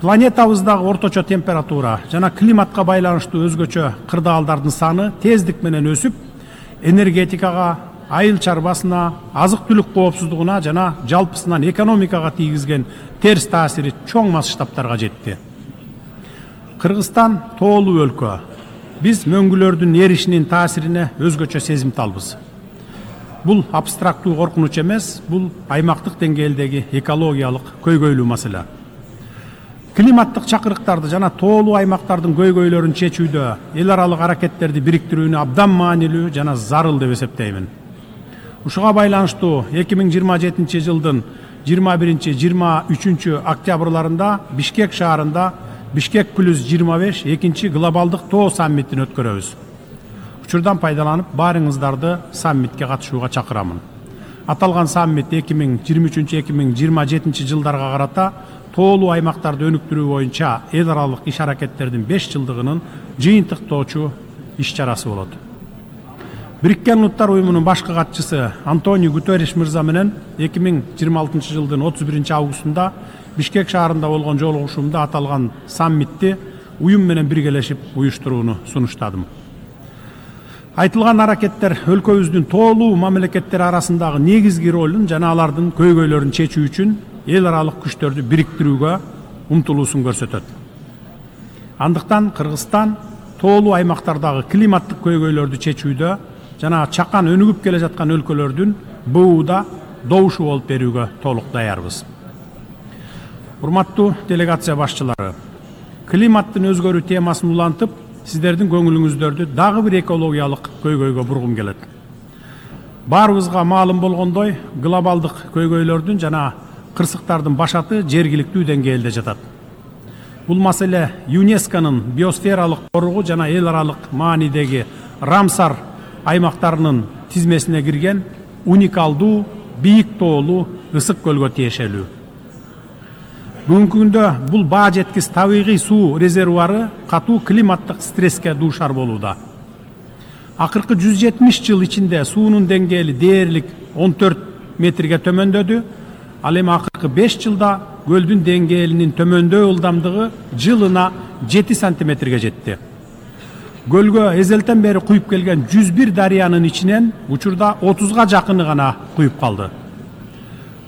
Планетабыздагы орточо температура жана климатка байланыштуу өзгөчө кырдаалдардын саны тездик менен өсүп, энергетикага, айыл чарбасына, азык-түлүк коопсуздугуна жана жалпысынан экономикага тийгизген терс таасири чоң масштабтарга жетти. Кыргызстан тоолуу өлкө. Биз мөңгүлөрдүн эришинин таасирине өзгөчө сезимталбыз. Бул абстрактуу коркунуч эмес, бул аймактык деңгээлдеги экологиялык көйгөйлүү маселе. Климаттык чакырыктарды жана тоолуу аймактардын көйгөйлөрүн чечүүдө эл аралык аракеттерди бириктирүүнү абдан маанилүү жана зарыл деп эсептеймин. Ушуга байланыштуу 2027 жылдын 21-23 октябрларында Бишкек шаарында Бишкек +25 экинчи глобалдык тоо саммитин өткөрөбүз. Учурдан пайдаланып баарыңыздарды саммитке катышууга чакырамын. Аталган саммит 2023-2027 жылдарга карата тоолуу аймактарды өнүктүрүү боюнча эл аралык иш аракеттердин 5 жылдыгынын жыйынтыктоочу иш-чарасы болот. Бириккен Улуттар уюмунун башкы катчысы Антонио Гутерриш мырза менен 2026 жылдын 31 августунда Бишкек шаарында болгон жолугушуумда аталган саммитти уюм менен биргелешип уюштурууну сунуштадым. Айтылган аракеттер өлкөбүздүн тоолуу мамлекеттер арасындагы негизги ролун жана алардын көйгөйлөрүн чечүү үчүн эл аралык күчтөрдү бириктирүүгө умтулуусун көрсөтөт. Андыктан Кыргызстан тоолуу аймактардагы климаттык көйгөйлөрдү чечүүдө жана чакан өнүгүп келе жаткан өлкөлөрдүн БУда добушу болуп берүүгө толук даярбыз. Урматтуу делегация башчылары, климаттын өзгөрүү темасын улантып, сиздердин көңүлүңүздөрдү дагы бир экологиялык көйгөйгө бургум келет. Баарыбызга маалым болгондой, глобалдык көйгөйлөрдүн жана кырсыктардын башаты жергиликтүү деңгээлде жатат. Бул маселе ЮНЕСКОнун биосфералык коругу жана эл аралык маанидеги Рамсар аймактарынын тизмесине кирген уникалдуу бийик тоолуу ысык көлгө тиешелүү. Бүгүнкү күндө бул баа жеткис табигый суу резервуары катуу климаттык стресске дуушар болууда. Акыркы 170 жыл ичинде суунун деңгээли дээрлик 14 метрге төмөндөдү. Ал эми акыркы 5 жылда көлдүн деңгээлинин төмөндөө ылдамдыгы жылына 7 сантиметрге жетти. Көлгө эзелтен бери куюп келген 101 дарыянын ичинен учурда 30га жакыны гана куюп калды.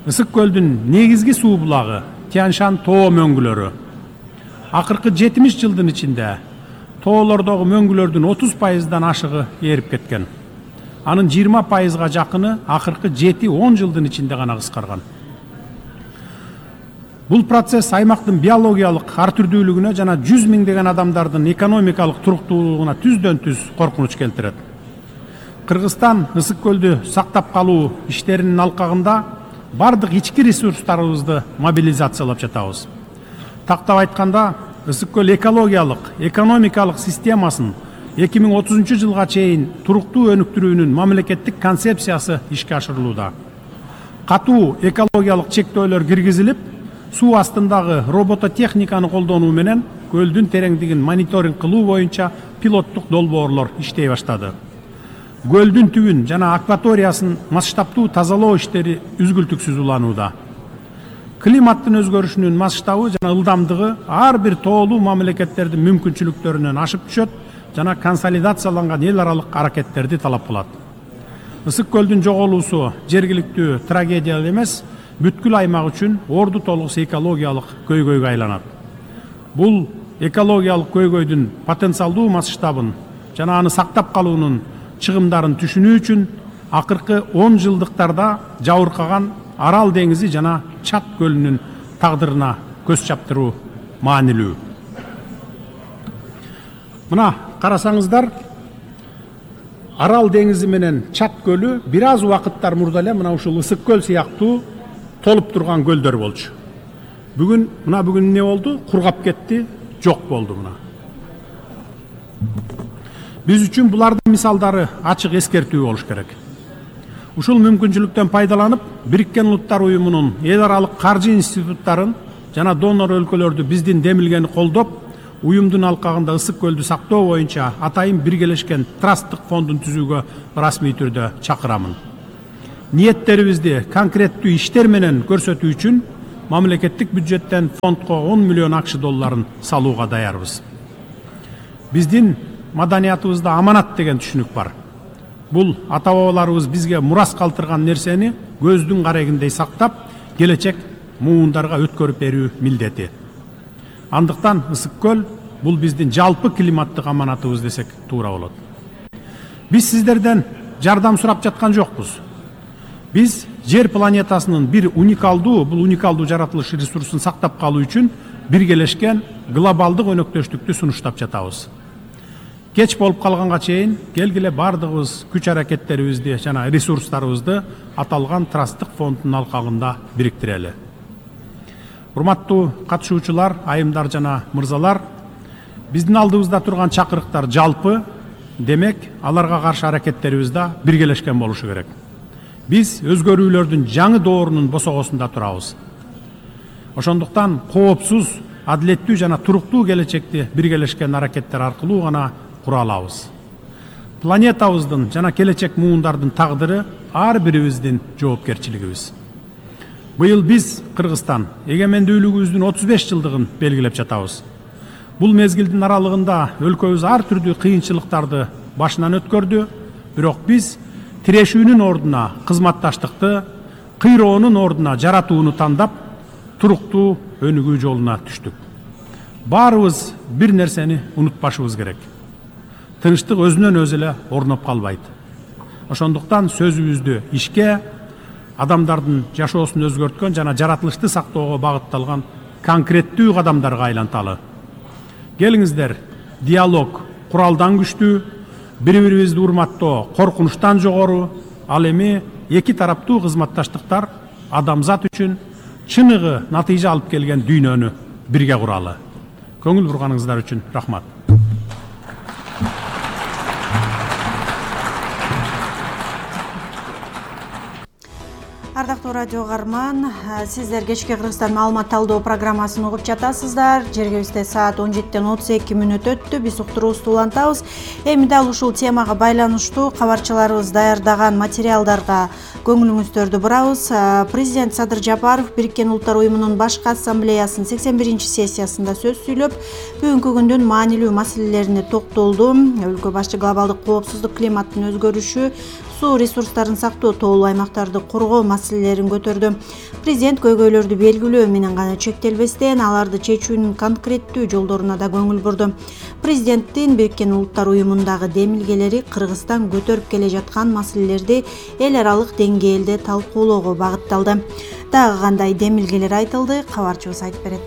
Ысык көлдүн негизги суу булагы Тянь-Шань тоо мөңгүлөрү. Акыркы 70 жылдын ичинде тоолордогу мөңгүлөрдүн 30%дан ашыгы ээрип кеткен. Анын 20%га жакыны акыркы 7-10 жылдын ичинде гана кыскарган. Бул процесс аймактын биологиялык ар түрдүүлүгүнө жана 100 миңдеген адамдардын экономикалык туруктуулугуна түздөн-түз коркунуч келтирет. Кыргызстан ысык көлдү сактап калуу иштеринин алкагында бардык ички ресурстарыбызды мобилизациялап жатабыз. Тактап айтканда, ысык көл экологиялык, экономикалык системасын 2030 жылга чейин туруктуу өнүктүрүүнүн мамлекеттик концепциясы ишке ашырылууда. Катуу экологиялык чектөөлөр киргизилип, суу астындагы робототехниканы колдонуу менен көлдүн тереңдигин мониторинг кылуу боюнча пилоттук долбоорлор иштей баштады. Көлдүн түбүн жана акваториясын масштабтуу тазалоо иштери үзгүлтүксүз уланууда. Климаттын өзгөрүшүнүн масштабы жана ылдамдыгы ар бир тоолуу мамлекеттердин мүмкүнчүлүктөрүнөн ашып түшөт жана консолидацияланган эл аралык аракеттерди талап кылат. Ысык көлдүн жоголуусу жергиликтүү трагедия эмес, бүткүл аймак үчүн орду толгус экологиялык көйгөйгө айланат. Бул экологиялык көйгөйдүн потенциалдуу масштабын жана аны сактап калуунун чыгымдарын түшүнүү үчүн акыркы 10 жылдыктарда жабыркаган Арал деңизи жана Чат көлүнүн тагдырына көз чаптыруу маанилүү. Мына карасаңыздар, Арал деңизи менен Чат көлү бир аз убакыттар мурда эле мына ушул ысык көл сыяктуу толуп турган көлдөр болчу. Бүгүн эмне болду? Кургап кетти, жок болду мына. Биз үчүн булардын мисалдары ачык эскертүү болуш керек. Ушул мүмкүнчүлүктөн пайдаланып, Бириккен Улуттар уюмунун эл аралык каржы институттарын жана донор өлкөлөрдү биздин демилгени колдоп, уюмдун алкагында ысык көлдү сактоо боюнча атайын биргелешкен трасттык фондун түзүүгө расмий түрдө чакырамын. Ниеттерибизди конкреттүү иштер менен көрсөтүү үчүн мамлекеттик бюджеттен фондко 10 миллион акш долларын салууга даярбыз. Биздин маданиятыбызда аманат деген түшүнүк бар. Бул ата-бабаларыбыз бизге мурас калтырган нерсени көздүн карегиндей сактап, келечек муундарга өткөрүп берүү милдети. Андыктан ысык көл бул биздин жалпы климаттык аманатыбыз десек туура болот. Биз сиздерден жардам сурап жаткан жокпуз. Биз жер планетасынын бул уникалдуу жаратылыш ресурсун сактап калуу үчүн биргелешкен глобалдык өнөктөштүктү сунуштап жатабыз. Кеч болуп калганга чейин келгиле бардыгыбыз күч аракеттерибизди жана ресурстарыбызды аталган трасттык фонддун алкагында бириктирели. Урматтуу катышуучулар, айымдар жана мырзалар, биздин алдыбызда турган чакырыктар жалпы, демек аларга каршы аракеттерибиз да биргелешкен болушу керек. Биз өзгөрүүлөрдүн жаңы доорунун босогосунда турабыз. Ошондуктан коопсуз, адилеттүү жана туруктуу келечекти биргелешкен аракеттер аркылуу гана кура алабыз. Планетабыздын жана келечек муундардын тагдыры ар бирибиздин жоопкерчилигибиз. Быйыл биз Кыргызстан эгемендүүлүгүбүздүн 35 жылдыгын белгилеп жатабыз. Бул мезгилдин аралыгында өлкөбүз ар түрдүү кыйынчылыктарды башынан өткөрдү, бирок биз тирешүүнүн ордуна кызматташтыкты, кыйроонун ордуна жаратууну тандап, туруктуу өнүгүү жолуна түштүк. Баарыбыз бир нерсени унутпашыбыз керек. Тынчтык өзүнөн өзү эле орноп калбайт. Ошондуктан сөзүбүздү ишке, адамдардын жашоосун өзгөрткөн жана жаратылышты сактоого багытталган конкреттүү кадамдарга айланталы. Келиңиздер, диалог куралдан күчтүү, бири-бирибизди урматтоо коркунучтан жогору, ал эми эки тараптуу кызматташтыктар адамзат үчүн чыныгы натыйжа алып келген дүйнөнү бирге куралы. Көңүл бурганыңыздар үчүн рахмат. Ардактуу радио угарман, сиздер кечки Кыргызстан маалымат талдоо программасын угуп жатасыздар. Жергибизде саат 17:32 өттү. Биз уктуруубузду улантабыз. Эми дал ушул темага байланыштуу кабарчыларыбыз даярдаган материалдарга көңүлүңүздөрдү бурабыз. Президент Садыр Жапаров Бириккен Улуттар уюмунун башкы ассамблеясынын 81-сессиясында сөз сүйлөп, бүгүнкү күндүн маанилүү маселелерине токтолду. Өлкө башчы глобалдык коопсуздук, климаттын өзгөрүшү, суу ресурстарын сактоо, тоолуу аймактарды коргоо маселелерин көтөрдү. Президент көйгөйлөрдү белгилөө менен гана чектелбестен, аларды чечүүнүн конкреттүү жолдоруна да көңүл бурду. Президенттин Бириккен Улуттар уюмундагы демилгелери Кыргызстан көтөрүп келе жаткан маселелерди эл аралык деңгээлде талкуулоого багытталды. Дагы кандай демилгелер айтылды, кабарчыбыз айтып берет.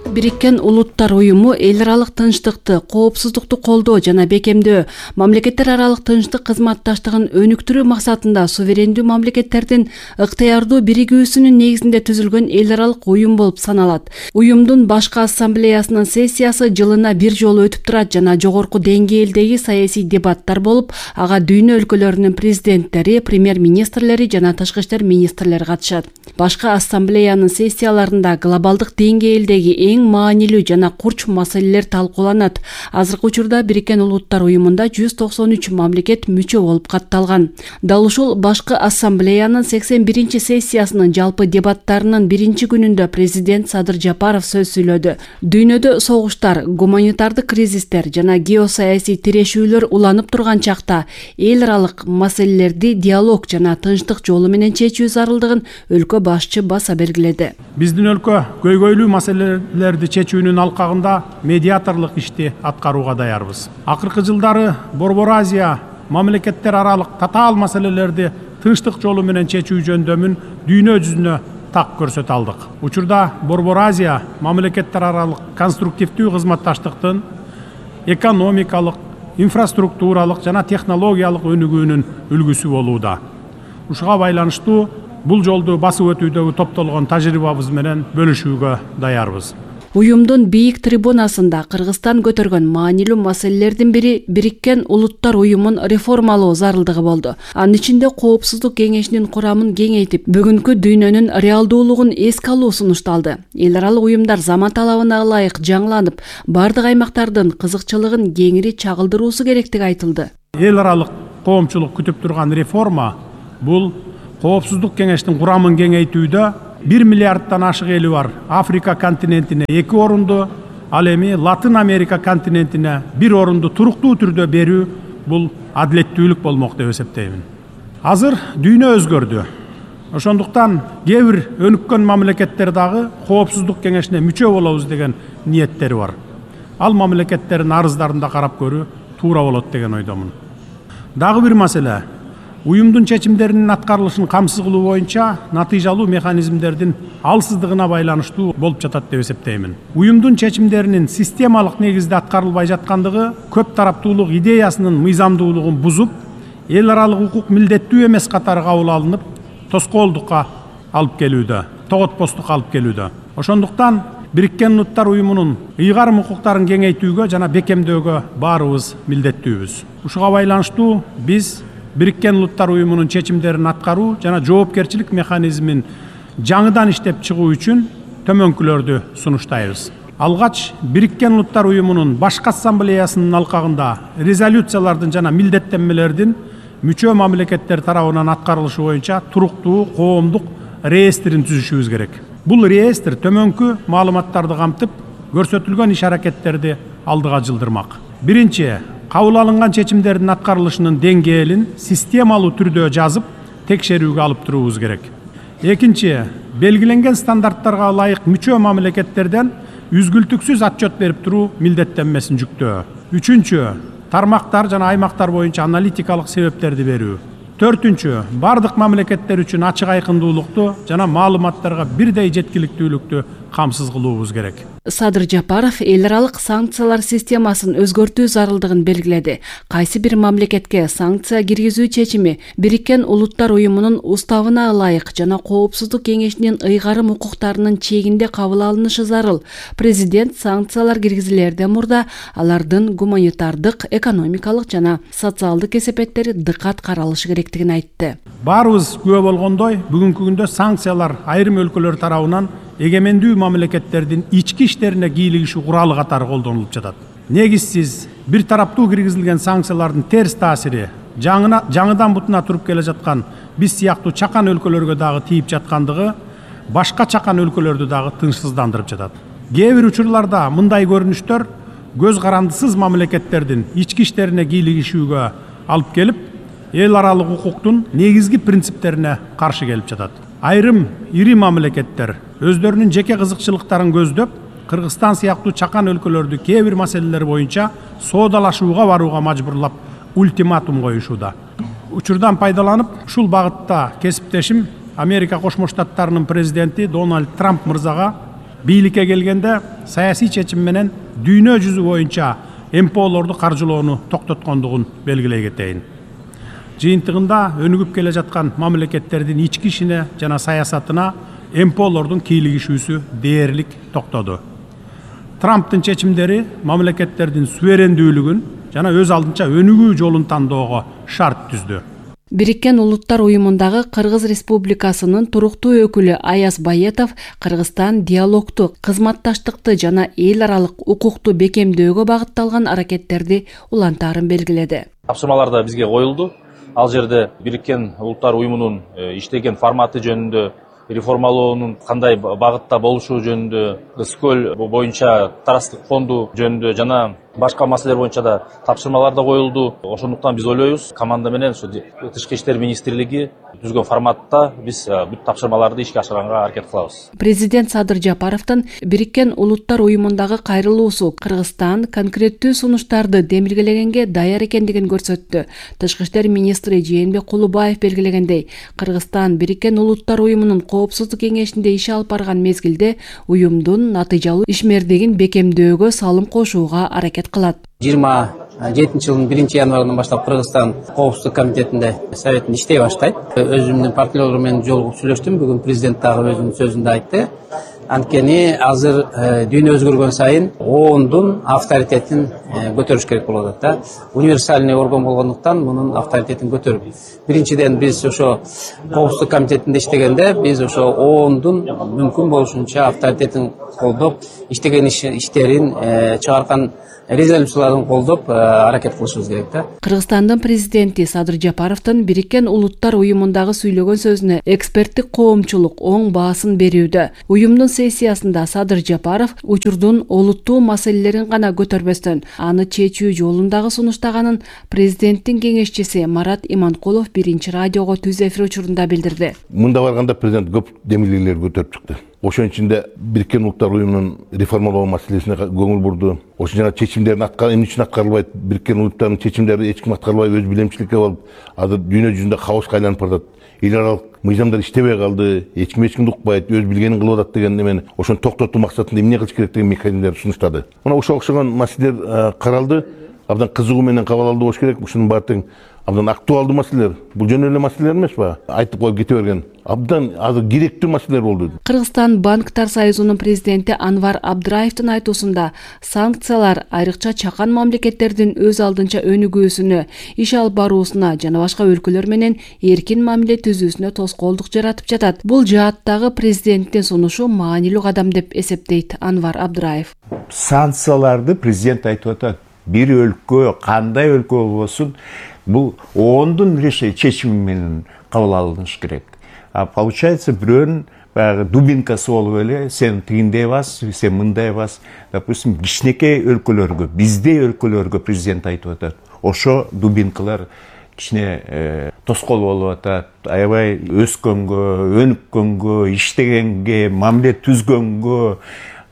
Бириккен Улуттар уюму эл аралык тынчтыкты, коопсуздукту колдоо жана бекемдөө, мамлекеттер аралык тынчтык кызматташтыгын өнүктүрүү максатында суверендүү мамлекеттердин ыктыярдуу биригүүсүнүн негизинде түзүлгөн эл аралык уюм болуп саналат. Уюмдун башкы ассамблеясынын сессиясы жылына бир жолу өтүп турат жана жогорку деңгээлдеги саясий дебаттар болуп, ага дүйнө өлкөлөрүнүн президенттери, премьер-министрлери жана тышкы иштер министрлери катышат. Башкы ассамблеянын сессияларында глобалдык деңгээлдеги эң маанилүү жана курч маселелер талкууланат. Азыркы учурда Бириккен Улуттар уюмунда 193 мамлекет мүчө болуп катталган. Дал ушул башкы ассамблеянын 81-сессиясынын жалпы дебаттарынын биринчи күнүндө президент Садыр Жапаров сөз сүйлөдү. Дүйнөдө согуштар, гуманитардык кризистер жана геосаясий тирешүүлөр уланып турган чакта эл аралык маселелерди диалог жана тынчтык жолу менен чечүү зарылдыгын өлкө башчы баса белгиледи. Биздин өлкө көйгөйлүү маселелерди чечүүнүн алкагында медиаторлук ишти аткарууга даярбыз. Акыркы жылдары Борбор Азия мамлекеттер аралык татаал маселелерди тынчтык жолу менен чечүү жөндөмүн дүйнө жүзүнө так көрсөтө алдык. Учурда Борбор Азия мамлекеттер аралык конструктивдүү кызматташтыктын экономикалык, инфраструктуралык жана технологиялык өнүгүүнүн үлгүсү болууда. Ушуга байланыштуу бул жолду басып өтүүдөгү топтолгон тажрыйбабыз менен бөлүшүүгө даярбыз. Уюмдун бийик трибунасында Кыргызстан көтөргөн маанилүү маселелердин бири Бириккен Улуттар уюмун реформалоо зарылдыгы болду. Анын ичинде коопсуздук кеңешинин курамын кеңейтип, бүгүнкү дүйнөнүн реалдуулугун эске алуу сунушталды. Эл аралык уюмдар заман талабына ылайык жаңыланып, бардык аймактардын кызыкчылыгын кеңири чагылдыруусу керектиги айтылды. Эл аралык коомчулук күтүп турган реформа бул коопсуздук кеңештин курамын кеңейтүүдө 1 миллиардтан ашык эли бар Африка континентине 2 орунду, ал эми Латын Америка континентине 1 орунду туруктуу түрдө берүү бул адилеттүүлүк болмок деп эсептеймин. Азыр дүйнө өзгөрдү. Ошондуктан кээ бир өнүккөн мамлекеттер дагы Коопсуздук кеңешине мүчө болобуз деген ниеттери бар. Ал мамлекеттердин арыздарында карап көрүү туура болот деген ойдомун. Дагы бир маселе, уюмдун чечимдеринин аткарылышын камсыз кылуу боюнча натыйжалуу механизмдердин алсыздыгына байланыштуу болуп жатат деп эсептеймин. Уюмдун чечимдеринин системалык негизде аткарылбай жаткандыгы көп тараптуулук идеясынын мыйзамдуулугун бузуп, эл аралык укук милдеттүү эмес катары кабыл алынып, тоскоолдукка алып келүүдө, тоготпостукка алып келүүдө. Ошондуктан Бириккен Улуттар Уюмунун ыйгарым укуктарын кеңейтүүгө жана бекемдөөгө баарыбыз милдеттүүбүз. Ушуга байланыштуу биз Бириккен Улуттар Уюмунун чечимдерин аткаруу жана жоопкерчилик механизмин жаңыдан иштеп чыгуу үчүн төмөнкүлөрдү сунуштайбыз. Алгач Бириккен Улуттар Уюмунун башкы ассамблеясынын алкагында резолюциялардын жана милдеттенмелердин мүчө мамлекеттер тарабынан аткарылышы боюнча туруктуу коомдук реестрин түзүшүбүз керек. Бул реестр төмөнкү маалыматтарды камтып, көрсөтүлгөн иш-аракеттерди алдыга жылдырмак. Биринчи, кабыл алынган чечимдердин аткарылышынын деңгээлин системалуу түрдө жазып, текшерүүгө алып туруубуз керек. Экинчи, белгиленген стандарттарга ылайык мүчө мамлекеттерден үзгүлтүксүз отчет берип туруу милдеттенмесин жүктөө. Үчүнчү, тармактар жана аймактар боюнча аналитикалык себептерди берүү. Төртүнчү, бардык мамлекеттер үчүн ачык айкындуулукту жана маалыматтарга бирдей жеткиликтүүлүктү камсыз кылуубуз керек. Садыр Жапаров эл аралык санкциялар системасын өзгөртүү зарылдыгын белгиледи. Кайсы бир мамлекетке санкция киргизүү чечими Бириккен Улуттар Уюмунун уставына ылайык жана Коопсуздук кеңешинин ыйгарым укуктарынын чегинде кабыл алынышы зарыл. Президент санкциялар киргизилерден мурда алардын гуманитардык, экономикалык жана социалдык эсепеттери дыкат каралышы керектигин айтты. Баарыбыз күбө болгондой, бүгүнкү күндө санкциялар айрым өлкөлөр тарабынан эгемендүү мамлекеттердин ички иштерине кийлигишүү куралы катары колдонулуп жатат. Негизсиз бир тараптуу киргизилген санкциялардын терс таасири жаңыдан бутуна туруп келе жаткан биз сыяктуу чакан өлкөлөргө дагы тийип жаткандыгы башка чакан өлкөлөрдү дагы тынчсыздандырып жатат. Кээ бир учурларда мындай көрүнүштөр көз карандысыз мамлекеттердин ички иштерине кийлигишүүгө алып келип, эл аралык укуктун негизги принциптерине каршы келип жатат. Айрым ири мамлекеттер өздөрүнүн жеке кызыкчылыктарын көздөп, Кыргызстан сыяктуу чакан өлкөлөрдү кээ бир маселелер боюнча соодалашууга барууга мажбурлап ультиматум коюшууда. Учурдан пайдаланып, ушул багытта кесиптешим Америка Кошмо Штаттарынын президенти Дональд Трамп мырзага бийликке келгенде саясий чечим менен дүйнө жүзү боюнча МПОлорду каржылоону токтоткондугун белгилей кетейин. Жыйынтыгында өнүгүп келе жаткан мамлекеттердин ички ишине жана саясатына МПОлордун кийлигишүүсү дээрлик токтоду. Трамптын чечимдери мамлекеттердин суверендүүлүгүн жана өз алдынча өнүгүү жолун тандоого шарт түздү. Бириккен Улуттар Уюмундагы Кыргыз Республикасынын туруктуу өкүлү Аяз Байетов Кыргызстан диалогту, кызматташтыкты жана эл аралык укукту бекемдөөгө багытталган аракеттерди улантаарын белгиледи. Тапшырмалар да бизге коюлду. Ал жерде Бириккен Улуттар Уюмунун иштеген форматы жөнүндө, реформалоонун кандай багытта болушу жөнүндө, СКөл боюнча тараздык фонду жөнүндө жана башка маселелер боюнча да тапшырмалар да коюлду. Ошондуктан биз ойлойбуз, команда менен Тышкы иштер министрлиги түзгөн форматта биз бүт тапшырмаларды ишке ашырганга аракет кылабыз. Президент Садыр Жапаровдун Бириккен Улуттар Уюмундагы кайрылуусу Кыргызстан конкреттүү сунуштарды демилгелегенге даяр экендигин көрсөттү. Тышкы иштер министри Жээнбек Кулубаев белгилегендей, Кыргызстан Бириккен Улуттар Уюмунун Коопсуздук кеңешинде иш алып барган мезгилде уюмдун натыйжалуу ишмердигин бекемдөөгө салым кошууга аракет кылат. 27-жылдын 1-январынан баштап Кыргызстан Коопсуздук комитетинде советинде иштей баштайт. Өзүмдүн партнерлорум менен жолугуп сүйлөштүм. Бүгүн президент дагы өзүнүн сөзүндө айтты. Анткени азыр дүйнө өзгөргөн сайын ООНдун авторитетин көтөрүш керек болуп атат да. Универсальный орган болгондуктан мунун авторитетин көтөрүп. Биринчиден биз ошо Коопсуздук комитетинде иштегенде биз ошо ООНдун мүмкүн болушунча авторитетин колдоп, иштеген иштерин чыгарган резолюцияларын колдоп аракет кылышыбыз керек да. Кыргызстандын президенти Садыр Жапаровдун Бириккен Улуттар уюмундагы сүйлөгөн сөзүнө эксперттик коомчулук оң баасын берүүдө. Уюмдун сессиясында Садыр Жапаров учурдун олуттуу маселелерин гана көтөрбөстөн, аны чечүү жолундагы сунуштаганын президенттин кеңешчиси Марат Иманкулов биринчи радиого түз эфир учурунда билдирди. Мында барганда президент көп демилгелер көтөрүп чыкты. Ошон ичинде Бириккен Улуттар уюмунун реформалоо маселесине көңүл бурду. Ошо жана чечимдерин эмне үчүн аткарылбайт? Бириккен Улуттардын чечимдери эч ким аткарбай өз билемчиликке болуп, азыр дүйнө жүзүндө хаоска айланып баратат. Эл аралык мыйзамдар иштебей калды, эч кимди укпайт, өз билгенин кылып атат деген эмени ошону токтотуу максатында эмне кылыш керек деген механизмдерди сунуштады. Мына ошого окшогон маселелер каралды, абдан кызыгуу менен кабыл алды болуш керек. Ушунун баары тең абдан актуалдуу маселелер. Бул жөн эле маселелер эмеспи? Айтып коюп кете берген. Абдан азыр керектүү маселелер болду. Кыргызстан банктар союзунун президенти Анвар Абдраевдин айтуусунда санкциялар айрыкча чакан мамлекеттердин өз алдынча өнүгүүсүнө, иш алып баруусуна жана башка өлкөлөр менен эркин мамиле түзүүсүнө тоскоолдук жаратып жатат. Бул жааттагы президенттин сунушу маанилүү кадам деп эсептейт Анвар Абдраев. Санкцияларды президент айтып атат. Бир өлкө, кандай өлкө болбосун, бул ООНдун чечими менен кабыл алыныш керек. А получается бирөөнүн баягы дубинкасы болуп эле, сен тигиндей бас, сен мындай бас. Допустим, кичинекей өлкөлөргө, биздей өлкөлөргө президент айтып атат. Ошо дубинкалар кичине тоскоол болуп атат. Аябай өскөнгө, өнүккөнгө, иштегенге, мамиле түзгөнгө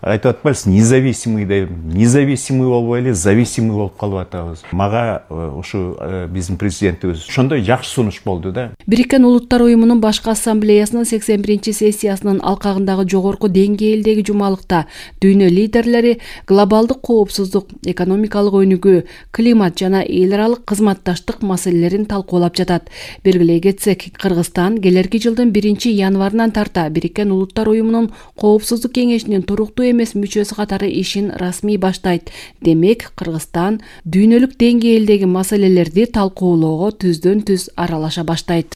айтып атпайсың, независимый деп, независимый болбой эле зависимый болуп калып атабыз. Мага ушу биздин президентибиз ошондой жакшы сунуш болду да. Бириккен Улуттар уюмунун башкы ассамблеясынын 81-чи сессиясынын алкагындагы жогорку деңгээлдеги жумалыкта дүйнө лидерлери глобалдык коопсуздук, экономикалык өнүгүү, климат жана эл аралык кызматташтык маселелерин талкуулап жатат. Белгилей кетсек, Кыргызстан келерки жылдын 1-январынан тарта Бириккен Улуттар уюмунун коопсуздук кеңешинин туруктуу эмес мүчөсү катары ишин расмий баштайт. Демек, Кыргызстан дүйнөлүк деңгээлдеги маселелерди талкуулоого түздөн-түз аралаша баштайт.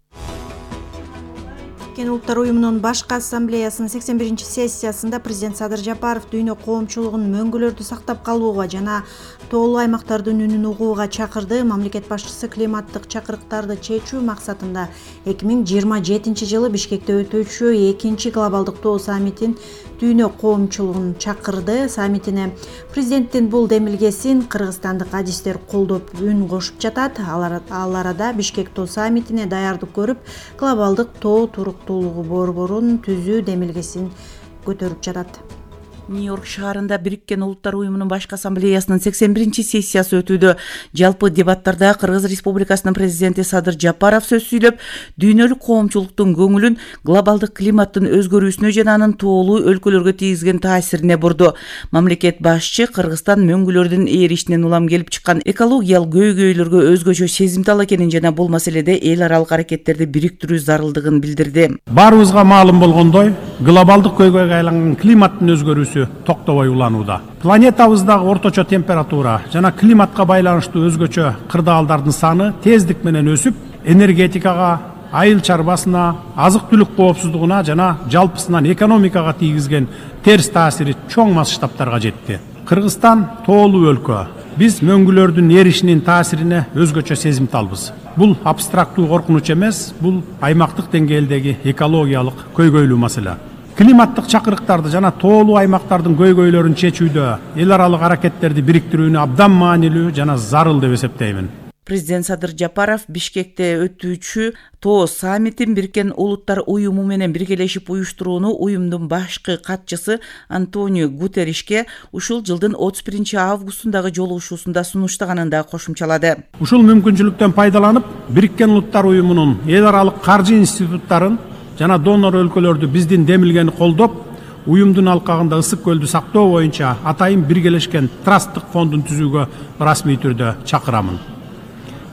Бириккен Улуттар уюмунун башкы ассамблеясынын 81-чи сессиясында президент Садыр Жапаров дүйнө коомчулугун мөңгүлөрдү сактап калууга жана тоолуу аймактардын үнүн угууга чакырды. Мамлекет башчысы климаттык чакырыктарды чечүү максатында 2027-жылы Бишкекте өтүүчү 2-чи глобалдык тоо саммитин дүйнө коомчулугун чакырды. Саммитине президенттин бул демилгесин кыргызстандык адистер колдоп үн кошуп жатат. Ал арада Бишкек тоо саммитине даярдык көрүп, глобалдык тоо туруктуулугу борборун түзүү демилгесин көтөрүп жатат. Нью-Йорк шаарында Бириккен Улуттар уюмунун башкы ассамблеясынын 81-чи сессиясы өтүүдө. Жалпы дебаттарда Кыргыз Республикасынын президенти Садыр Жапаров сөз сүйлөп, дүйнөлүк коомчулуктун көңүлүн глобалдык климаттын өзгөрүүсүнө жана анын тоолуу өлкөлөргө тийгизген таасирине бурду. Мамлекет башчы Кыргызстан мөңгүлөрдүн ээришинен улам келип чыккан экологиялык көйгөйлөргө өзгөчө сезимтал экенин жана бул маселеде эл аралык аракеттерди бириктирүү зарылдыгын билдирди. Баарыбызга маалым болгондой, глобалдык көйгөйгө айланган климаттын өзгөрүүсү токтобой уланууда. Планетабыздагы орточо температура жана климатка байланыштуу өзгөчө кырдаалдардын саны тездик менен өсүп, энергетикага, айыл чарбасына, азык-түлүк коопсуздугуна жана жалпысынан экономикага тийгизген терс таасири чоң масштабтарга жетти. Кыргызстан тоолуу өлкө. Биз мөңгүлөрдүн эришинин таасирине өзгөчө сезимталбыз. Бул абстрактуу коркунуч эмес, бул аймактык деңгээлдеги экологиялык көйгөйлүү маселе. Климаттык чакырыктарды жана тоолуу аймактардын көйгөйлөрүн чечүүдө эл аралык аракеттерди бириктирүүнү абдан маанилүү жана зарыл деп эсептеймин. Президент Садыр Жапаров Бишкекте өтүүчү тоо саммитин Бириккен Улуттар уюму менен биргелешип уюштурууну уюмдун башкы катчысы Антонио Гутерришке ушул жылдын 31-августундагы жолугушуусунда сунуштаганын да кошумчалады. Ушул мүмкүнчүлүктөн пайдаланып, Бириккен Улуттар уюмунун эл аралык каржы институттарын жана донор өлкөлөрдү биздин демилгени колдоп, уюмдун алкагында ысык көлдү сактоо боюнча атайын биргелешкен трасттык фондун түзүүгө расмий түрдө чакырамын.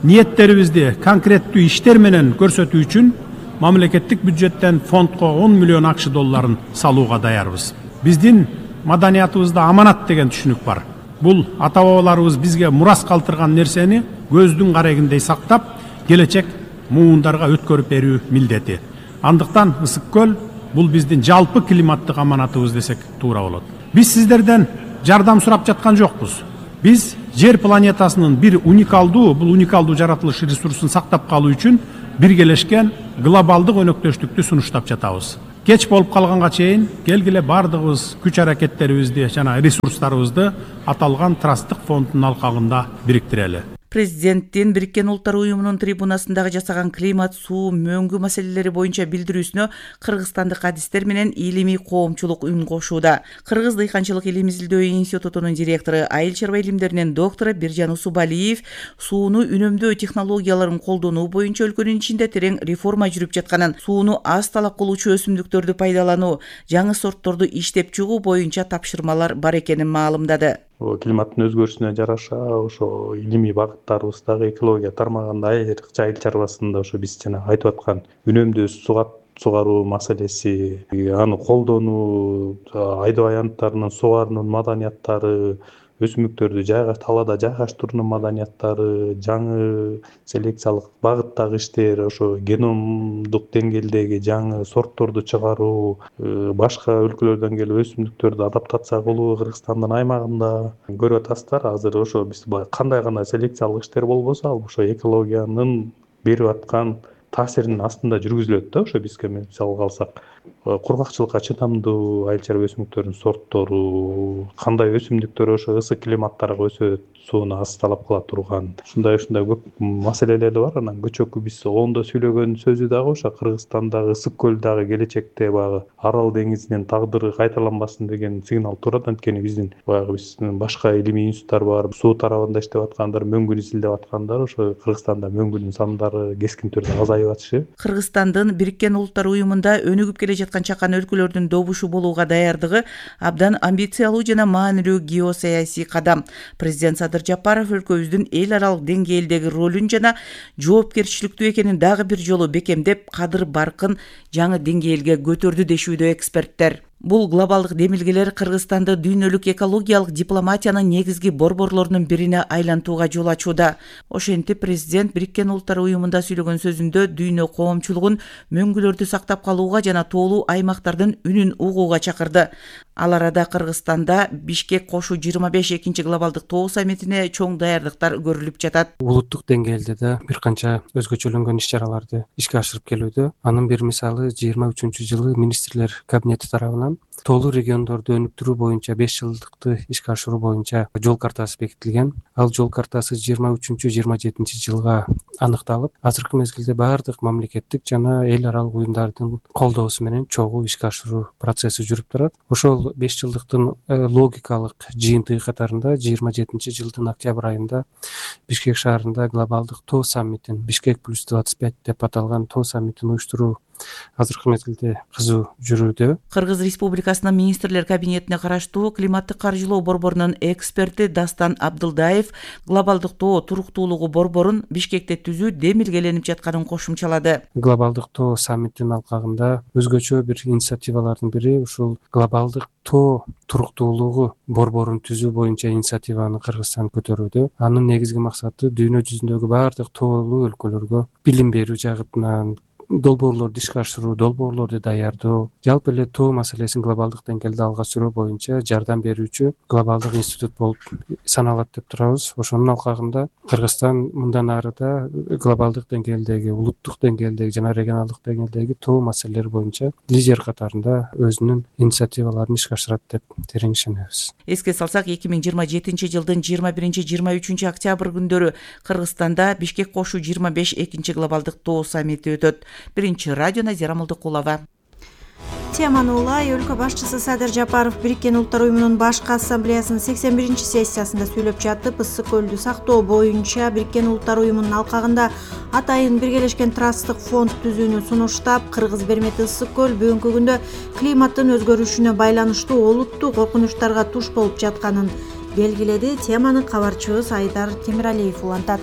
Ниеттерибизди конкреттүү иштер менен көрсөтүү үчүн мамлекеттик бюджеттен фондко $10 миллион салууга даярбыз. Биздин маданиятыбызда аманат деген түшүнүк бар. Бул ата бабаларыбыз бизге мурас калтырган нерсени көздүн карегиндей сактап, келечек муундарга өткөрүп берүү милдети. Андыктан Ысык көл бул биздин жалпы климаттык аманатыбыз десек туура болот. Биз сиздерден жардам сурап жаткан жокпуз. Биз жер планетасынын бул уникалдуу жаратылыш ресурсун сактап калуу үчүн биргелешкен глобалдык өнөктөштүктү сунуштап жатабыз. Кеч болуп калганга чейин келгиле бардыгыбыз күч аракеттерибизди жана ресурстарыбызды аталган трасттык фонддун алкагында бириктирели. Президенттин Бириккен Улуттар Уюмунун трибунасындагы жасаган климат, суу, мөңгү маселелери боюнча билдирүүсүнө кыргызстандык адистер менен илимий коомчулук үн кошууда. Кыргыз дыйканчылык илим изилдөө институтунун директору, айыл чарба илимдеринин доктору Биржан Усубалиев сууну үнөмдөө технологияларын колдонуу боюнча өлкөнүн ичинде терең реформа жүрүп жатканын, сууну аз талап кылуучу өсүмдүктөрдү пайдалануу, жаңы сортторду иштеп чыгуу боюнча тапшырмалар бар экенин маалымдады. Климаттын өзгөрүшүнө жараша ошо илимий багыттарыбыздагы экология тармагында айрыкча айыл чарбасында ошо биз жана айтып аткан үнөмдүү сугаруу маселеси, аны колдонуу, айдоо аянттарынын сугаруунун маданияттары, өсүмдүктөрдү талаада жайгаштыруунун маданияттары, жаңы селекциялык багыттагы иштер, ошо геномдук деңгээлдеги жаңы сортторду чыгаруу, башка өлкөлөрдөн келип өсүмдүктөрдү адаптация кылуу Кыргызстандын аймагында көрүп атасыздар. Азыр ошо биз кандай селекциялык иштер болбосо, ал ошо экологиянын берип аткан таасиринин астында жүргүзүлөт да. Ошо бизге мисалга алсак, кургакчылыкка чыдамдуу айыл чарба өсүмдүктөрүнүн сорттору, кандай өсүмдүктөр ошо ысык климаттарга өсөт, сууну аз талап кыла турган, ушундай көп маселелер бар. Анан көчөкү биз оңдо сүйлөгөн сөзү дагы ошо Кыргызстандагы Ысык көл дагы келечекте баягы Арал деңизинин тагдыры кайталанбасын деген сигнал турат. Анткени биздин башка илимий институттар бар, суу тарабында иштеп аткандар, мөңгүн изилдеп аткандар, ошо Кыргызстанда мөңгүнүн сандары кескин түрдө азайып атышы. Кыргызстандын Бириккен Улуттар Уюмунда өнүгүп келе жаткан чакан өлкөлөрдүн добушу болууга даярдыгы абдан амбициялуу жана маанилүү геосаясий кадам. Президент Садыр Жапаров өлкөбүздүн эл аралык деңгээлдеги ролун жана жоопкерчиликтүү экенин дагы бир жолу бекемдеп, кадыр баркын жаңы деңгээлге көтөрдү дешүүдө эксперттер. Бул глобалдык демилгелер Кыргызстанды дүйнөлүк экологиялык дипломатиянын негизги борборлорунун бирине айлантууга жол ачууда. Ошентип президент Бириккен Улуттар Уюмунда сүйлөгөн сөзүндө дүйнө коомчулугун мөңгүлөрдү сактап калууга жана тоолуу аймактардын үнүн угууга чакырды. Ал арада Кыргызстанда Бишкек кошу 25 экинчи глобалдык тоо саммитине чоң даярдыктар көрүлүп жатат. Улуттук деңгээлде да бир канча өзгөчөлөнгөн иш-чараларды ишке ашырып келүүдө. Анын бир мисалы 23-жылы министрлер кабинети тарабынан тоолуу региондорду өнүктүрүү боюнча 5 жылдыкты ишке ашыруу боюнча жол картасы бекитилген. Ал жол картасы 23-27 жылга аныкталып, азыркы мезгилде баардык мамлекеттик жана эл аралык уюмдардын колдоосу менен чогуу ишке ашыруу процесси жүрүп турат. Ошол 5 жылдыктын логикалык жыйынтыгы катарында 27 жылдын октябрь айында Бишкек шаарында глобалдык тоо саммитин, Бишкек плюс 25 деп аталган тоо саммитин уюштуруу азыркы мезгилде кызуу жүрүүдө. Кыргыз Республикасынын министрлер кабинетине караштуу климаттык каржылоо борборунун эксперти Дастан Абдылдаев глобалдык тоо туруктуулугу борборун Бишкекте түзүү демилгеленип жатканын кошумчалады. Глобалдык тоо саммитинин алкагында өзгөчө бир инициативалардын бири ушул глобалдык тоо туруктуулугу борборун түзүү боюнча инициативаны Кыргызстан көтөрүүдө. Анын негизги максаты дүйнө жүзүндөгү баардык тоолуу өлкөлөргө билим берүү жагытынан долбоорлорду ишке ашыруу, долбоорлорду даярдоо, жалпы эле тоо маселесин глобалдык деңгээлде алга сүрүү боюнча жардам берүүчү глобалдык институт болуп саналат деп турабыз. Ошонун алкагында Кыргызстан мындан ары да глобалдык деңгээлдеги, улуттук деңгээлдеги жана регионалдык деңгээлдеги тоо маселелери боюнча лидер катарында өзүнүн инициативаларын ишке ашырат деп терең ишенебиз. Эске салсак, 2027 жылдын 21-23 октябрь күндөрү Кыргызстанда Бишкек кошу 25 экинчи глобалдык тоо саммити өтөт. Биринчи радио Назира Молдокулова. Теманы улай өлкө башчысы Садыр Жапаров Бириккен Улуттар Уюмунун башкы ассамблеясынын 81 сессиясында сүйлөп жатып, ысык көлдү сактоо боюнча Бириккен Улуттар Уюмунун алкагында атайын биргелешкен трасттык фонд түзүүнү сунуштап, Кыргыз бермети ысык көл бүгүнкү күндө климаттын өзгөрүшүнө байланыштуу олуттуу коркунучтарга туш болуп жатканын белгиледи. Теманы кабарчыбыз Айдар Темиралиев улантат.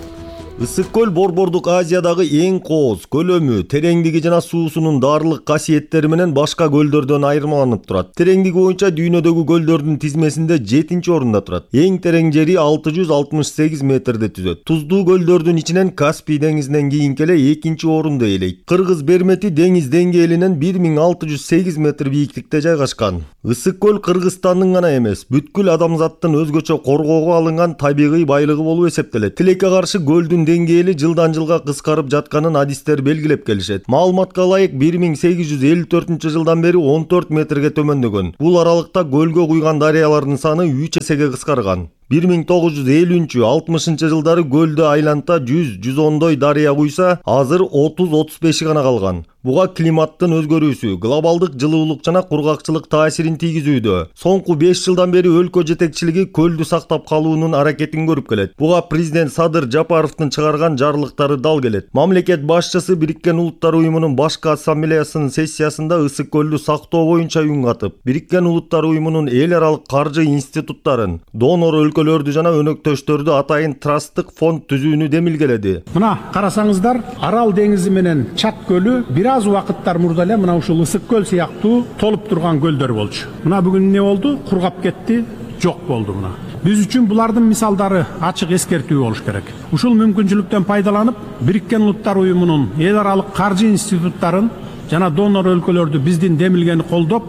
Ысык көл Борбордук Азиядагы эң кооз, көлөмү, тереңдиги жана суусунун даарылык касиеттери менен башка көлдөрдөн айырмаланып турат. Тереңдиги боюнча дүйнөдөгү көлдөрдүн тизмесинде 7-орунда турат. Эң терең жери 668 метрди түзөт. Туздуу көлдөрдүн ичинен Каспий деңизинен кийинки эле 2-орунду ээлейт. Кыргыз Бермети деңиз деңгээлинен 1608 метр бийиктикте жайгашкан. Ысык көл Кыргызстандын гана эмес, бүткүл адамзаттын өзгөчө коргоого алынган табигый байлыгы болуп эсептелет. Тилекке каршы көлдүн деңгээли жылдан жылга кыскарып жатканын адистер белгилеп келишет. Маалыматка ылайык 1854 жылдан бери 14 метрге төмөндөгөн. Бул аралыкта көлгө куйган дарыялардын саны 3 эсеге кыскарган. 1950-60 жылдары көлдө айланта 100-110 дарыя куйса, азыр 30-35 гана калган. Буга климаттын өзгөрүүсү, глобалдык жылуулук жана кургакчылык таасирин тийгизүүдө. Соңку 5 жылдан бери өлкө жетекчилиги көлдү сактап калуунун аракетин көрүп келет. Буга президент Садыр Жапаровдун чыгарган жарлыктары дал келет. Мамлекет башчысы Бириккен Улуттар Уюмунун башкы ассамблеясынын сессиясында ысык көлдү сактоо боюнча үн катып, Бириккен Улуттар Уюмунун эл аралык каржы институттарын, донор өлкөлөрдү жана өнөктөштөрдү атайын трасттык фонд түзүүнү демилгеледи. Мына карасаңыздар, Арал деңизи менен Чат көлү бир аз убакыттар мурда эле мына ушул ысык көл сыяктуу толуп турган көлдөр болчу. Мына бүгүн эмне болду? Кургап кетти, жок болду мына. Биз үчүн булардын мисалдары ачык эскертүү болуш керек. Ушул мүмкүнчүлүктөн пайдаланып, Бириккен Улуттар Уюмунун эл аралык каржы институттарын жана донор өлкөлөрдү биздин демилгени колдоп,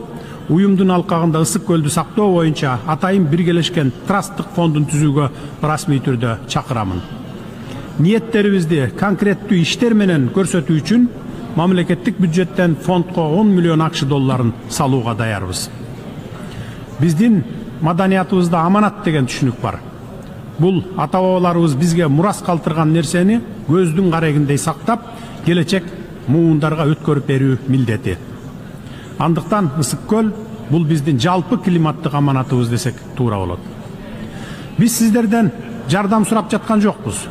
уюмдун алкагында ысык көлдү сактоо боюнча атайын биргелешкен трасттык фондун түзүүгө расмий түрдө чакырамын. Ниеттерибизди конкреттүү иштер менен көрсөтүү үчүн мамлекеттик бюджеттен фондко 10 миллион акш долларын салууга даярбыз. Биздин маданиятыбызда аманат деген түшүнүк бар. Бул ата бабаларыбыз бизге мурас калтырган нерсени көздүн карегиндей сактап, келечек муундарга өткөрүп берүү милдети. Андыктан ысык көл бул биздин жалпы климаттык аманатыбыз десек туура болот. Биз сиздерден жардам сурап жаткан жокпуз.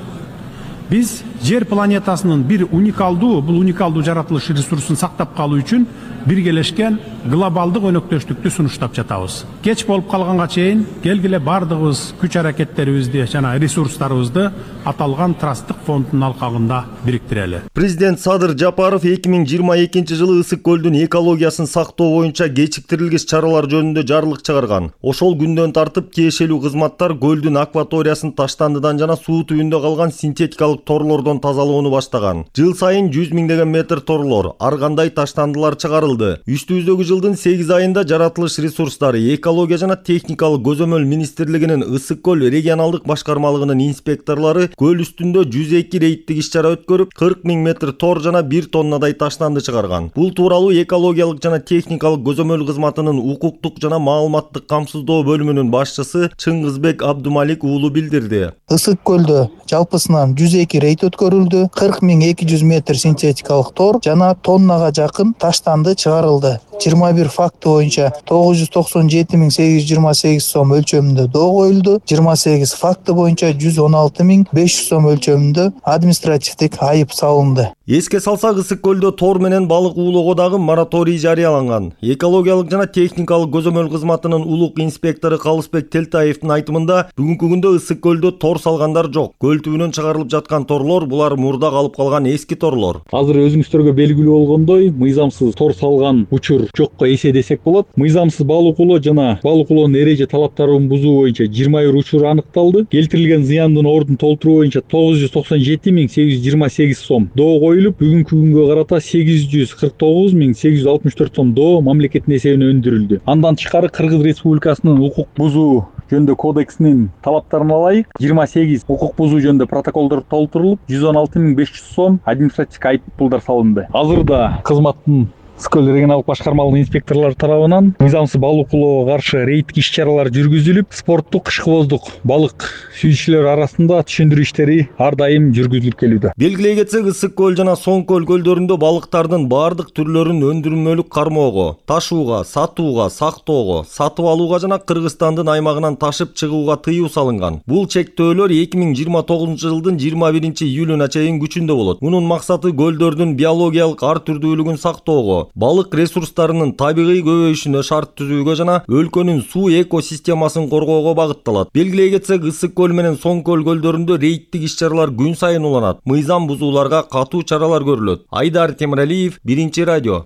Биз жер планетасынын бул уникалдуу жаратылыш ресурсун сактап калуу үчүн биргелешкен глобалдык өнөктөштүктү сунуштап жатабыз. Кеч болуп калганга чейин келгиле бардыгыбыз күч аракеттерибизди жана ресурстарыбызды аталган трасттык фонддун алкагында бириктирели. Президент Садыр Жапаров 2022 жылы ысык көлдүн экологиясын сактоо боюнча кечиктирилгис чаралар жөнүндө жарлык чыгарган. Ошол күндөн тартып тиешелүү кызматтар көлдүн акваториясын таштандыдан жана суу түбүндө калган синтетикалык торлордон тазалоону баштаган. Жыл сайын 100 миңдеген метр торлор, ар кандай таштандылар чыгарылды. Үстүбүздөгү жылдын 8 айында жаратылыш ресурстары, экология жана техникалык көзөмөл министрлигинин ысык көл регионалдык башкармалыгынын инспекторлору көл үстүндө 102 рейдтик иш-чара өткөрүп, 40 000 метр тор жана 1 тоннадай таштанды чыгарган. Бул тууралуу экологиялык жана техникалык көзөмөл кызматынын укуктук жана маалыматтык камсыздоо бөлүмүнүн башчысы Чыңгызбек Абдумалик уулу билдирди. Ысык көлдө жалпысынан 102 рейд өткөрүлдү, 40 200 метр синтетикалык тор жана тоннага жакын таштанды чыгарылды. 21 факты боюнча 997 828 сом өлчөмүндө доо коюлду. 28 факты боюнча 116 500 сом өлчөмүндө административдик айып салынды. Эске салсак, ысык көлдө тор менен балык уулоого дагы мораторий жарыяланган. Экологиялык жана техникалык көзөмөл кызматынын улук инспектору Калысбек Телтаевдин айтымында, бүгүнкү күндө ысык көлдө тор салгандар жок. Көл түбүнөн чыгарылып жаткан торлор булар мурда калып калган эски торлор. Азыр өзүңүздөргө белгилүү болгондой, мыйзамсыз тор салган учур жокко эсе десек болот. Мыйзамсыз балык уулоо жана балык уулоонун эреже талаптарын бузуу боюнча 21 учур аныкталды. Келтирилген зыяндын ордун толтуруу боюнча 997 828 сом доо коюлуп, бүгүнкү күнгө карата 849 864 сом доо мамлекеттин эсебине өндүрүлдү. Андан тышкары Кыргыз Республикасынын укук бузуу жөнүндө кодексинин талаптарына ылайык 28 укук бузуу жөнүндө протоколдор толтурулуп, 116 500 сом административдик айыппулдар салынды. Азырда кызматтын Ысык көл регионалдык башкармалыгынын инспекторлору тарабынан мыйзамсыз балык уулоого каршы рейдтик иш-чаралар жүргүзүлүп, спорттук кышкыбоздук балык сүйүүчүлөр арасында түшүндүрүү иштери ар дайым жүргүзүлүп келүүдө. Белгилей кетсек, ысык көл жана соң көл көлдөрүндө балыктардын баардык түрлөрүн өндүрмөлүк кармоого, ташууга, сатууга, сактоого, сатып алууга жана Кыргызстандын аймагынан ташып чыгууга тыюу салынган. Бул чектөөлөр 2029 жылдын 21 июлуна чейин күчүндө болот. Мунун максаты көлдөрдүн биологиялык ар түрдүүлүгүн сактоого, коргоого, балык ресурстарынын табигый көбөйүшүнө шарт түзүүгө жана өлкөнүн суу экосистемасын коргоого багытталат. Белгилей кетсек, Ысык көл менен Соң көл көлдөрүндө рейдтик иш-чаралар күн сайын уланат. Мыйзам бузууларга катуу чаралар көрүлөт. Айдар Темиралиев, Биринчи радио.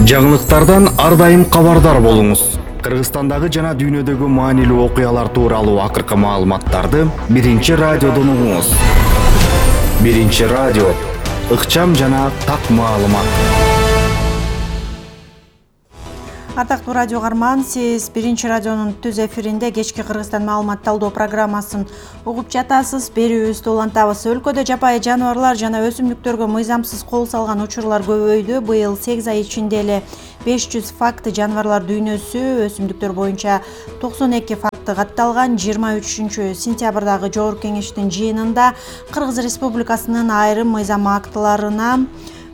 Жаңылыктардан ар дайым кабардар болуңуз. Кыргызстандагы жана дүйнөдөгү маанилүү окуялар тууралуу акыркы маалыматтарды Биринчи радиодон угуңуз. Биринчи радио, ыкчам жана так маалымат. Ардактуу радио каарман, сиз Биринчи радионун түз эфиринде кечки Кыргызстан маалымат талдоо программасын угуп жатасыз. Берүүбүздү улантабыз. Өлкөдө жапайы жаныбарлар жана өсүмдүктөргө мыйзамсыз кол салган учурлар көбөйдү. Быйыл 8 ай ичинде эле 500 факты жаныбарлар дүйнөсү, өсүмдүктөр боюнча 92 факты катталган. 23 сентябрдагы Жогорку Кеңештин жыйынында Кыргыз Республикасынын айрым мыйзам актыларына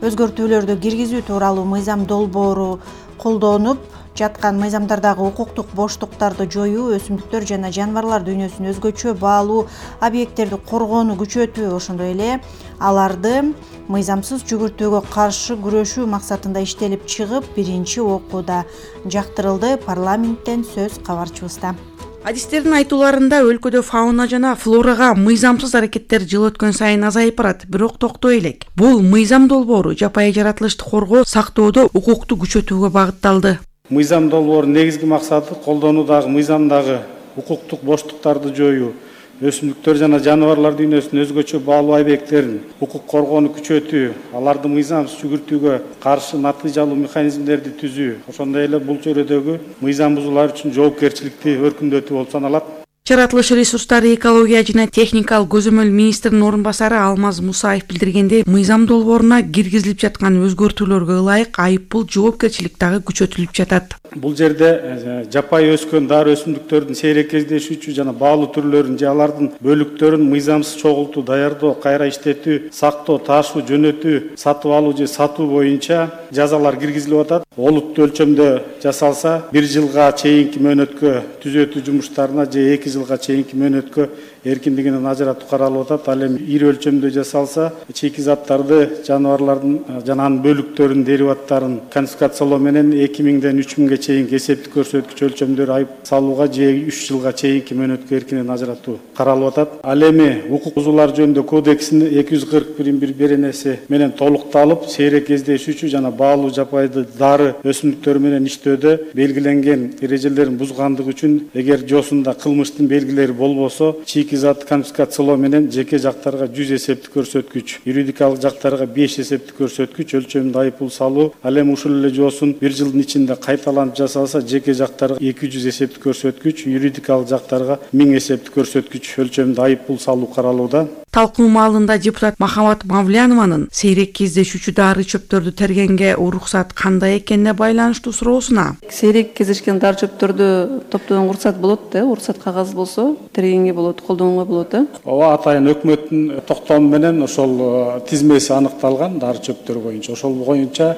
өзгөртүүлөрдү киргизүү тууралуу мыйзам долбоору колдонуп жаткан. Мыйзамдардагы укуктук боштуктарды жоюу, өсүмдүктөр жана жаныбарлар дүйнөсүн өзгөчө баалуу объекттерди коргоону күчөтүү, ошондой эле аларды мыйзамсыз жүгүртүүгө каршы күрөшүү максатында иштелип чыгып, биринчи окууда жактырылды. Парламенттен сөз кабарчыбызда. Адистердин айтууларында өлкөдө фауна жана флорага мыйзамсыз аракеттер жыл өткөн сайын азайып барат, бирок токтой элек. Бул мыйзам долбоору жапайы жаратылышты коргоо, сактоодо укукту күчөтүүгө багытталды. Мыйзам долбоорунун негизги максаты колдонуудагы мыйзамдагы укуктук боштуктарды жоюу, өсүмдүктөр жана жаныбарлар дүйнөсүнүн өзгөчө баалуу объекттерин укук коргоону күчөтүү, аларды мыйзамсыз жүгүртүүгө каршы натыйжалуу механизмдерди түзүү, ошондой эле бул чөйрөдөгү мыйзам бузуулар үчүн жоопкерчиликти өркүндөтүү болуп саналат. Жаратылыш ресурстары, экология жана техникалык көзөмөл министринин орун басары Алмаз Мусаев билдиргендей, мыйзам долбооруна киргизилип жаткан өзгөртүүлөргө ылайык айыппул жоопкерчилик дагы күчөтүлүп жатат. Бул жерде жапайы өскөн дары өсүмдүктөрдүн сейрек кездешүүчү жана баалуу түрлөрүн же алардын бөлүктөрүн мыйзамсыз чогултуу, даярдоо, кайра иштетүү, сактоо, ташуу, жөнөтүү, сатып алуу же сатуу боюнча жазалар киргизилип атат. Олуттуу өлчөмдө жасалса 1 жылга чейинки мөөнөткө түзөтүү жумуштарына же 2 жылга чейинки мөөнөткө эркиндигинен ажыратуу каралып атат. Ал эми ири өлчөмдө жасалса чийки заттарды, жаныбарлардын жана анын бөлүктөрүнүн дериваттарын конфискациялоо менен 2000ден 3000ге чейинки эсептик көрсөткүч өлчөмдөр айып салууга же 3 жылга чейинки мөөнөткө эркинен ажыратуу каралып атат. Ал эми укук бузуулар жөнүндө кодексинин 241 беренеси менен толукталып, сейрек кездешүүчү жана баалуу жапайы дары өсүмдүктөр менен иштөөдө белгиленген эрежелерин бузгандыгы үчүн эгер жосунда кылмыштын белгилери болбосо, чийки зат конфискациялоо менен жеке жактарга 100 эсептик көрсөткүч, юридикалык жактарга 5 эсептик көрсөткүч өлчөмүндө айыппул салуу. Ал эми ушул эле жосун 1 жылдын ичинде кайталанып жасалса, жеке жактарга 200 эсептик көрсөткүч, юридикалык жактарга 1000 эсептик көрсөткүч өлчөмүндө айыппул салуу каралууда. Талкуу маалында депутат Махамат Мавлянованын сейрек кездешүүчү дары чөптөрдү тергенге уруксат кандай экенине байланыштуу суроосуна. Сейрек кездешкен дары чөптөрдү топтогонго уруксат болот да, уруксат кагаз болсо тергенге болот, колдонууга болот да. Ооба, атайын өкмөттүн токтому менен ошол тизмеси аныкталган дары чөптөр боюнча. Ошол боюнча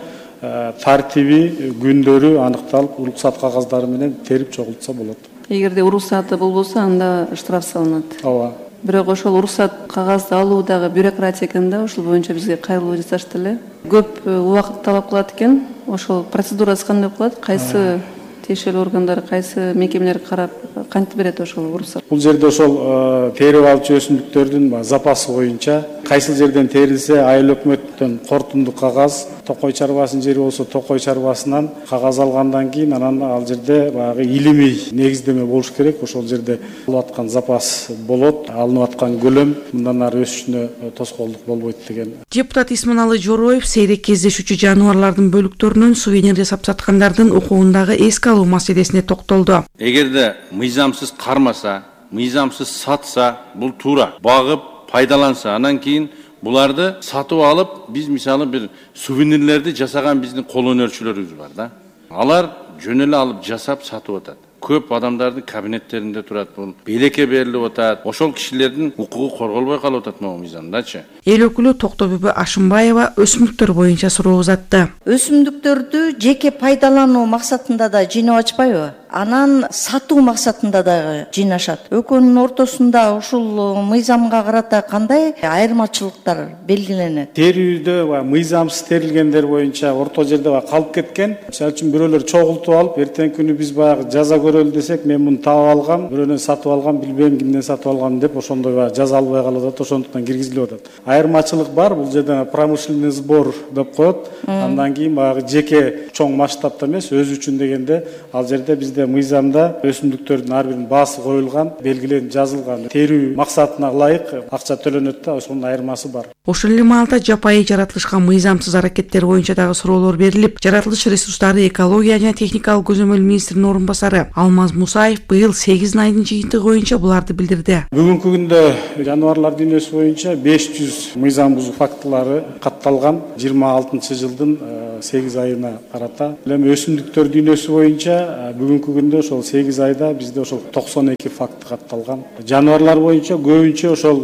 тартиби, күндөрү аныкталып, уруксат кагаздары менен терип чогултса болот. Эгерде уруксаты болбосо, анда штраф салынат. Ооба. Бирок ошол уруксат кагазды алуудагы бюрократия экен да, ошол боюнча бизге кайрылуу жасашты эле. Көп убакыт талап кылат экен. Ошол процедурасы кандай кылат? Кайсы тиешелүү органдар, кайсы мекемелер карап кантип берет ошол уруксат? Бул жерде ошол терип алчу өсүмдүктөрдүн запасы боюнча кайсыл жерден терилсе, айыл өкмөттөн кортундук кагаз, токой чарбасынын жери болсо токой чарбасынан кагаз алгандан кийин анан ал жерде баягы илимий негиздеме болуш керек. Ошол жерде алып аткан запас болот, алынып аткан көлөм мындан ары өсүшүнө тоскоолдук болбойт деген. Депутат Исманалы Жороев сейрек кездешүүчү жаныбарлардын бөлүктөрүнөн сувенир жасап саткандардын укугундагы эске алуу маселесине токтолду. Эгерде мыйзамсыз кармаса, мыйзамсыз сатса, бул туура. Багып, пайдаланса, анан кийин буларды сатып алып, биз мисалы бир сувенирлерди жасаган биздин кол өнөрчүлөрүбүз бар да. Алар жөн эле алып жасап сатып атат. Көп адамдардын кабинеттеринде турат, бул белекке берилип атат. Ошол кишилердин укугу корголбой калып атат могу мыйзамдачы. Эл өкүлү Токтобүбү Ашымбаева өсүмдүктөр боюнча суроо узатты. Өсүмдүктөрдү жеке пайдалануу максатында да жыйнап ачпайбы? анан сатуу максатында дагы жыйнашат. Экөөнүн ортосунда ушул мыйзамга карата кандай айырмачылыктар белгиленет? Терүүдө мыйзамсыз терилгендер боюнча орто жерде калып кеткен. Мисалы үчүн бирөөлөр чогултуп алып, эртеңки күнү биз баягы жаза көрөлү десек, мен муну таап алгам, бирөөнөн сатып алгам, билбейм кимден сатып алгам деп ошондой жаза албай калып атат, ошондуктан киргизилип атат. Айырмачылык бар, бул жерде промышленный сбор деп коет. Андан кийин баягы жеке чоң масштабта эмес, өзү үчүн дегенде ал жерде бизде мыйзамда өсүмдүктөрдүн ар биринин баасы коюлган, белгиленип жазылган. Терүү максатына ылайык акча төлөнөт да, ошонун айырмасы бар. Ошол эле маалда жапайы жаратылышка мыйзамсыз аракеттер боюнча дагы суроолор берилип, жаратылыш ресурстары, экология жана техникалык көзөмөл министринин орун басары Алмаз Мусаев быйыл 8 айдын жыйынтыгы боюнча буларды билдирди. Бүгүнкү күндө жаныбарлар дүйнөсү боюнча 500 мыйзам бузуу фактылары катталган 26-жылдын 8 айына карата. Эми өсүмдүктөр дүйнөсү боюнча бүгүнкү күндө ошол 8 айда бизде ошол 92 факт катталган. Жаныбарлар боюнча көбүнчө ошол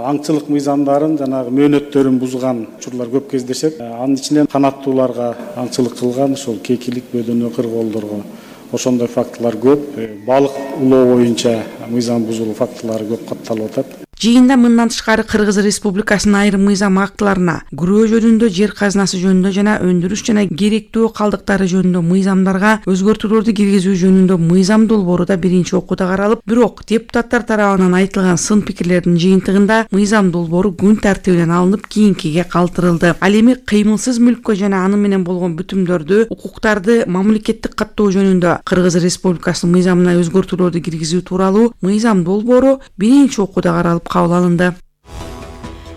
аңчылык мыйзамдарын жанагы мөөнөттөрүн бузган учурлар көп кездешет. Анын ичинен канаттууларга аңчылык кылган, ошол кекилик, бөдөнө, кыргоолдорго ошондой фактылар көп. Балык улоо боюнча мыйзам бузуу фактылары көп катталып атат. Жыйында мындан тышкары Кыргыз Республикасынын айрым мыйзам актыларына, күрөө жөнүндө, жер казынасы жөнүндө жана өндүрүш жана керектүү калдыктары жөнүндө мыйзамдарга өзгөртүүлөрдү киргизүү жөнүндө мыйзам долбоору да биринчи окууда каралып, бирок депутаттар тарабынан айтылган сын пикирлердин жыйынтыгында мыйзам долбоору күн тартибинен алынып кийинкиге калтырылды. Ал эми кыймылсыз мүлккө жана аны менен болгон бүтүмдөрдү, укуктарды мамлекеттик каттоо жөнүндө Кыргыз Республикасынын мыйзамына өзгөртүүлөрдү киргизүү тууралуу мыйзам долбоору биринчи окууда каралып кабыл алынды.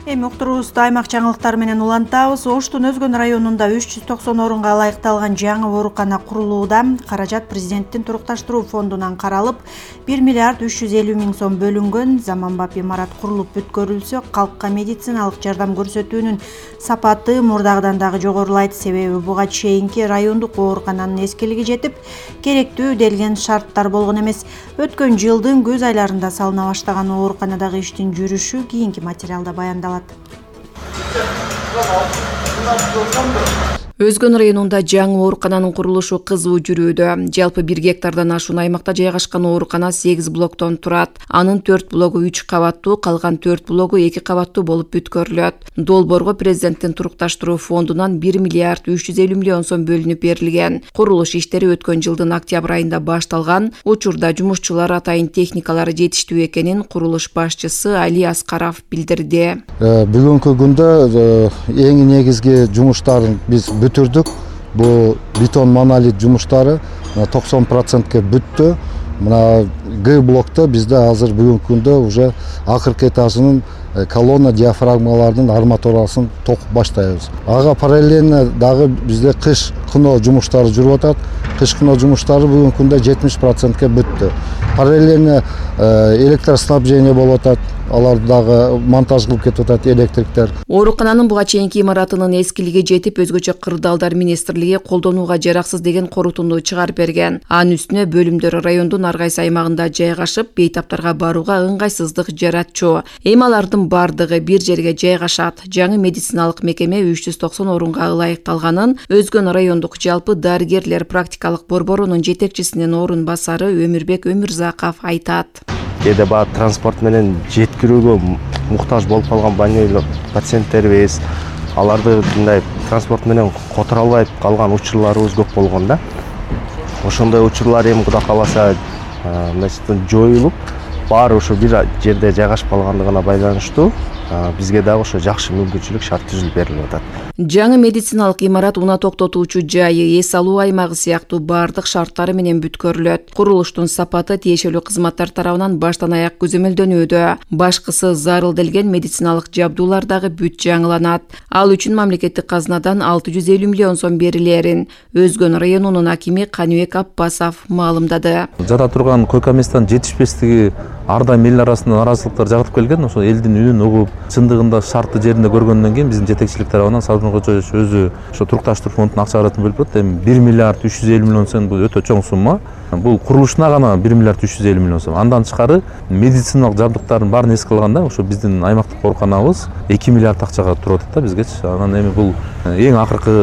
Эми уктуруубузду аймак жаңылыктары менен улантабыз. Оштун Өзгөн районунда 390 орунга ылайыкталган жаңы оорукана курулууда. Каражат президенттин турукташтыруу фондунан каралып, 1 миллиард 350 миң сом бөлүнгөн. Заманбап имарат курулуп бүткөрүлсө, калкка медициналык жардам көрсөтүүнүн сапаты мурдагыдан дагы жогорулайт. Себеби буга чейинки райондук оорукананын эскилиги жетип, керектүү делген шарттар болгон эмес. Өткөн жылдын көз айларында салына баштаган ооруканадагы иштин жүрүшү кийинки материалда баяндалат. Өзгөн районунда жаңы оорукананын курулушу кызуу жүрүүдө. Жалпы 1 гектардан ашуун аймакта жайгашкан оорукана 8 блоктон турат. Анын 4 блогу 3 кабаттуу, калган 4 блогу 2 кабаттуу болуп бүткөрүлөт. Долбоорго президенттин турукташтыруу фондунан 1 миллиард 350 миллион сом бөлүнүп берилген. Курулуш иштери өткөн жылдын октябрь айында башталган. Учурда жумушчулар атайын техникалары жетиштүү экенин курулуш башчысы Али Аскаров билдирди. Бүгүнкү күндө эң негизги жумуштарын биз бүтүрдүк. Бул бетон монолит жумуштары 90%ке бүттү. Мына Г блокто бизде азыр бүгүнкү күндө уже акыркы этажынын колонна диафрагмалардын арматурасын токуп баштайбыз. Ага параллельно дагы бизде кыш кыно жумуштары жүрүп атат. Кыш кыно жумуштары бүгүнкү күндө 70%ке бүттү. Параллельно электроснабжение болуп атат. Алар дагы монтаж кылып кетип атат электриктер. Оорукананын буга чейинки имаратынын эскилиги жетип, өзгөчө кырдаалдар министрлиги колдонууга жараксыз деген корутунду чыгарып берген. Анын үстүнө бөлүмдөр райондун ар кайсы аймагында жайгашып, бейтаптарга барууга ыңгайсыздык жаратчу. Эми алардын бардыгы бир жерге жайгашат. Жаңы медициналык мекеме 390 орунга ылайыкталганын Өзгөн райондук жалпы дарыгерлер практикалык борборунун жетекчисинин орун басары Өмүрбек Өмүрзаков айтат. Кээде баа транспорт менен жеткирүүгө муктаж болуп калган больнойлор пациенттерибиз, аларды мындай транспорт менен которо албай калган учурларыбыз көп болгон да. Ошондой учурлар эми Кудай кааласа жоюлуп, баары ошо бир жерде жайгашып калгандыгына байланыштуу бизге дагы ошо жакшы мүмкүнчүлүк шарт түзүлүп берилип атат. Жаңы медициналык имарат унаа токтотуучу жайы, эс алуу аймагы сыяктуу бардык шарттары менен бүткөрүлөт. Курулуштун сапаты тиешелүү кызматтар тарабынан баштан аяк көзөмөлдөнүүдө. Башкысы зарылделген медициналык жабдуулар дагы бүт жаңыланат. Ал үчүн мамлекеттик казынадан 650 миллион сом берилерин Өзгөн районунун акими Каныбек Аппасов маалымдады. Жата турган койка месттин жетишпестиги ар дайым эл арасында наразылыктар жагытып келген. Ошо элдин үнүн угуп, чындыгында шартты жеринде көргөндөн кийин биздин жетекчилик тарабынан Сабырмин Кочоевич өзү ошо турукташтыруу фондуна акча каратын бөлүп турат. Эми 1 миллиард 350 миллион сом бул өтө чоң сумма. Бул курулушуна гана 1 миллиард 350 миллион сом. Андан тышкары медициналык жабдыктардын баарын эске алганда ошо биздин аймактык ооруканабыз 2 миллиард акчага туруп атат да бизгечи. Анан эми бул эң акыркы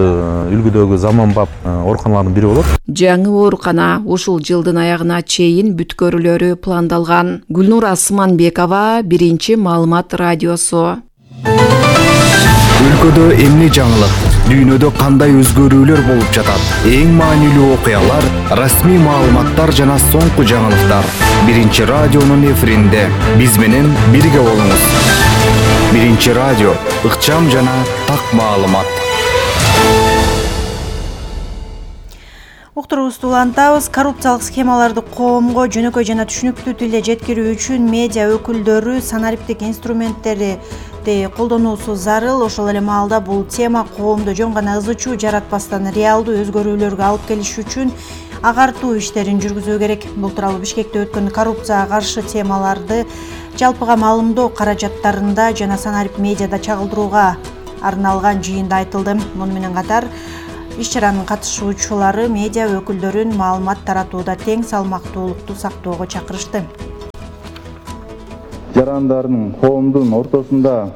үлгүдөгү заманбап ооруканалардын бири болот. Жаңы оорукана ушул жылдын аягына чейин бүткөрүлөрү пландалган. Гүлнура Сыманбекова, Биринчи маалымат радиосу. Өлкөдө эмне жаңылык, дүйнөдө кандай өзгөрүүлөр болуп жатат? Эң маанилүү окуялар, расмий маалыматтар жана соңку жаңылыктар. Биринчи радионун эфиринде биз менен бирге болуңуз. Биринчи радио, ыкчам жана так маалымат. Уктуруубузду улантабыз. Коррупциялык схемаларды коомго жөнөкөй жана түшүнүктүү тилде жеткирүү үчүн медиа өкүлдөрү санариптик инструменттерди колдонуусу зарыл. Ошол эле маалда бул тема коомдо жөн гана ызы чуу жаратпастан реалдуу өзгөрүүлөргө алып келиш үчүн агартуу иштерин жүргүзүү керек. Бул тууралуу Бишкекте өткөн коррупцияга каршы темаларды жалпыга маалымдоо каражаттарында жана санарип медиада чагылдырууга арналган жыйында айтылды. Муну менен катар иш-чаранын катышуучулары медиа өкүлдөрүн маалымат таратууда тең салмактуулукту сактоого чакырышты. Жарандардын коомдун ортосунда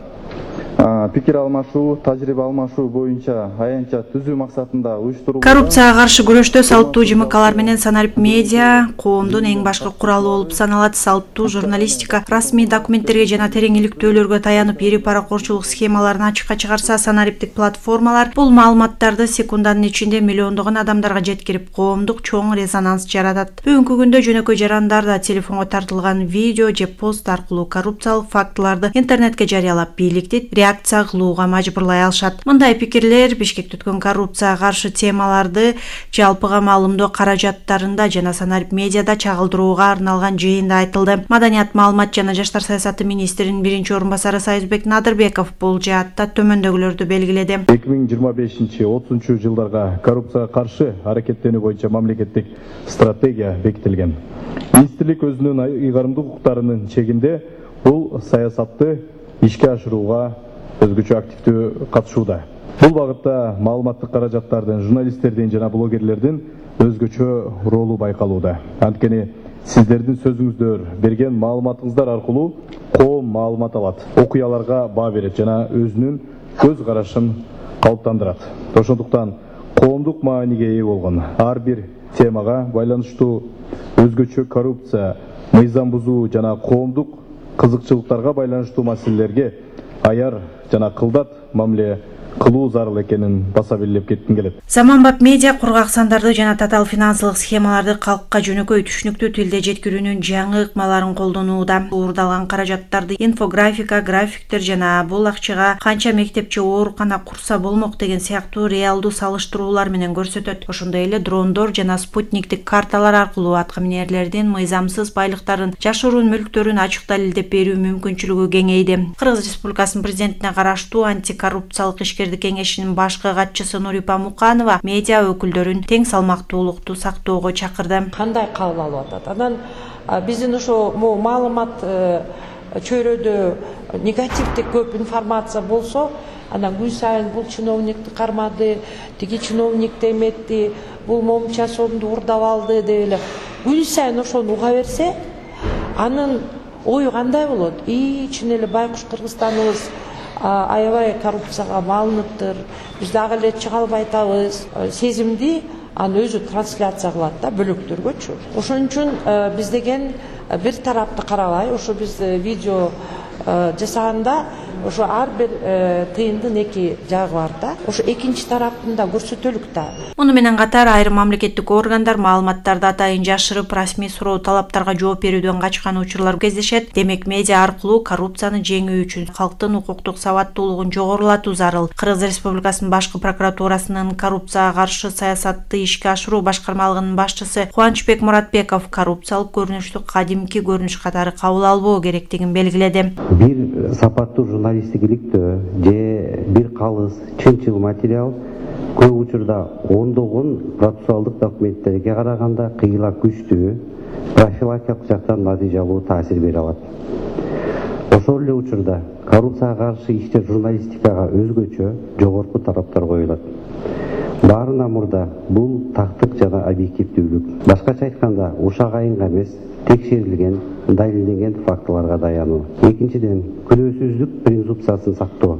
пикир алмашуу, тажрыйба алмашуу боюнча аянтча түзүү максатында уюштурулган. Коррупцияга каршы күрөштө салттуу ЖМКлар менен санарип медиа коомдун эң башкы куралы болуп саналат. Салттуу журналистика расмий документтерге жана терең иликтөөлөргө таянып ири паракорчулук схемаларын ачыкка чыгарса, санариптик платформалар бул маалыматтарды секунданын ичинде миллиондогон адамдарга жеткирип, коомдук чоң резонанс жаратат. Бүгүнкү күндө жөнөкөй жарандар да телефонго тартылган видео же пост аркылуу коррупциялык фактыларды интернетке жарыялап, бийликти реакция кылууга мажбурлай алышат. Мындай пикирлер Бишкекте өткөн коррупцияга каршы темаларды жалпыга маалымдоо каражаттарында жана санарип медиада чагылдырууга арналган жыйында айтылды. Маданият, маалымат жана жаштар саясаты министринин биринчи орун басары Сайызбек Надырбеков бул жаатта төмөндөгүлөрдү белгиледи. 2025-30 жылдарга коррупцияга каршы аракеттенүү боюнча мамлекеттик стратегия бекитилген. Министрлик өзүнүн ыйгарымдуу укуктарынын чегинде бул саясатты ишке ашырууга өзгөчө активдүү катышууда. Бул багытта маалыматтык каражаттардын, журналисттердин жана блогерлердин өзгөчө ролу байкалууда. Анткени сиздердин сөзүңүздөр, берген маалыматыңыздар аркылуу коом маалымат алат, окуяларга баа берет жана өзүнүн көз карашын калыптандырат. Ошондуктан коомдук мааниге ээ болгон ар бир темага байланыштуу өзгөчө коррупция, мыйзам бузуу жана коомдук кызыкчылыктарга байланыштуу маселелерге аяр жана кылдат мамиле кылуу зарыл экенин баса белгилеп кетким келет. Заманбап медиа кургак сандарды жана татаал финансылык схемаларды калкка жөнөкөй түшүнүктүү тилде жеткирүүнүн жаңы ыкмаларын колдонууда. Уурдалган каражаттарды инфографика, графиктер жана бул акчага канча мектеп же оорукана курса болмок деген сыяктуу реалдуу салыштыруулар менен көрсөтөт. Ошондой эле дрондор жана спутниктик карталар аркылуу аткаминерлердин мыйзамсыз байлыктарын, жашыруун мүлктөрүн ачык далилдеп берүү мүмкүнчүлүгү кеңейди. Кыргыз Республикасынын президентине караштуу антикоррупциялык кеңешинин башкы катчысы Нурипа Муканова медиа өкүлдөрүн тең салмактуулукту сактоого чакырды. Кандай кабыл алып атат? Анан биздин ошо маалымат чөйрөдө негативдик көп информация болсо, анан күн сайын бул чиновникти кармады, тиги чиновник деметти, бул момча сомду уурдап алды деп эле күн сайын ошону уга берсе, анын ою кандай болот? Чын эле байкуш Кыргызстаныбыз аябай коррупцияга малыныптыр, биз дагы эле чыга албай атабыз сезимди аны өзү трансляция кылат да бөлөктөргөчү. Ошон үчүн биз деген бир тарапты карабай, ошо биз видео жасаганда ошо ар бир тыйындын эки жагы бар да. Ошо экинчи тараптын да көрсөтөлүк да. Муну менен катар айрым мамлекеттик органдар маалыматтарды атайын жашырып, расмий суроо талаптарга жооп берүүдөн качкан учурлар кездешет. Демек медиа аркылуу коррупцияны жеңүү үчүн калктын укуктук сабаттуулугун жогорулатуу зарыл. Кыргыз Республикасынын башкы прокуратурасынын коррупцияга каршы саясатты ишке ашыруу башкармалыгынын башчысы Кубанычбек Муратбеков коррупциялык көрүнүштү кадимки көрүнүш катары кабыл албоо керектигин белгиледи. Бир сапаттуу журналистик иликтөө же бир калыс чынчыл материал көп учурда ондогон процессуалдык документтерге караганда кыйла күчтүү профилактикалык жактан натыйжа алуу таасир бере алат. Ошол эле учурда коррупцияга каршы иштер журналистикага өзгөчө жогорку талаптар коюлат. Баарынан мурда бул тактык жана объективдүүлүк. Башкача айтканда, ушак айынга эмес, текшерилген, далилденген фактыларга таянуу. Экинчиден, күнөөсүзлүк презумпциясын сактоо.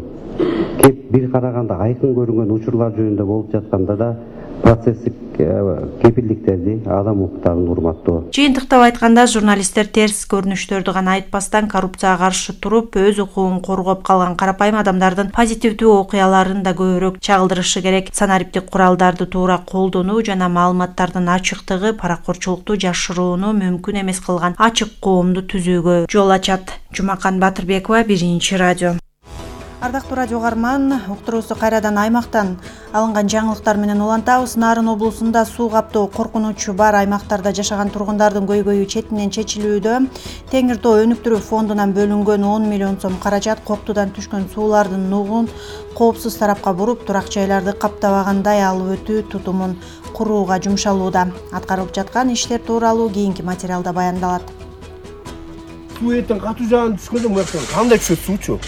Кеп бир караганда айкын көрүнгөн учурлар жөнүндө болуп жатканда да процесстик кепилдиктерди, адам укуктарын урматтоо. Жыйынтыктап айтканда, журналисттер терс көрүнүштөрдү гана айтпастан коррупцияга каршы туруп, өз укугун коргоп калган карапайым адамдардын позитивдүү окуяларын да көбүрөөк чагылдырышы керек. Санариптик куралдарды туура колдонуу жана маалыматтардын ачыктыгы паракорчулукту жашырууну мүмкүн эмес кылган ачык коомду түзүүгө жол ачат. Жумакан Батырбекова, Биринчи радио. Ардактуу радио угарман, уктуруубузду кайрадан аймактан алынган жаңылыктар менен улантабыз. Нарын облусунда суу каптоо коркунучу бар аймактарда жашаган тургундардын көйгөйү четинен чечилүүдө. Теңир Тоо өнүктүрүү фондунан бөлүнгөн 10 миллион сом каражат Коктудан түшкөн суулардын нугун коопсуз тарапка буруп, турак жайларды каптабагандай алып өтүү тутумун курууга жумшалууда. Аткарылып жаткан иштер тууралуу кийинки материалда баяндалат. Суу этин катуу жагын түшкөндө мурактан кандай түшөт суучу?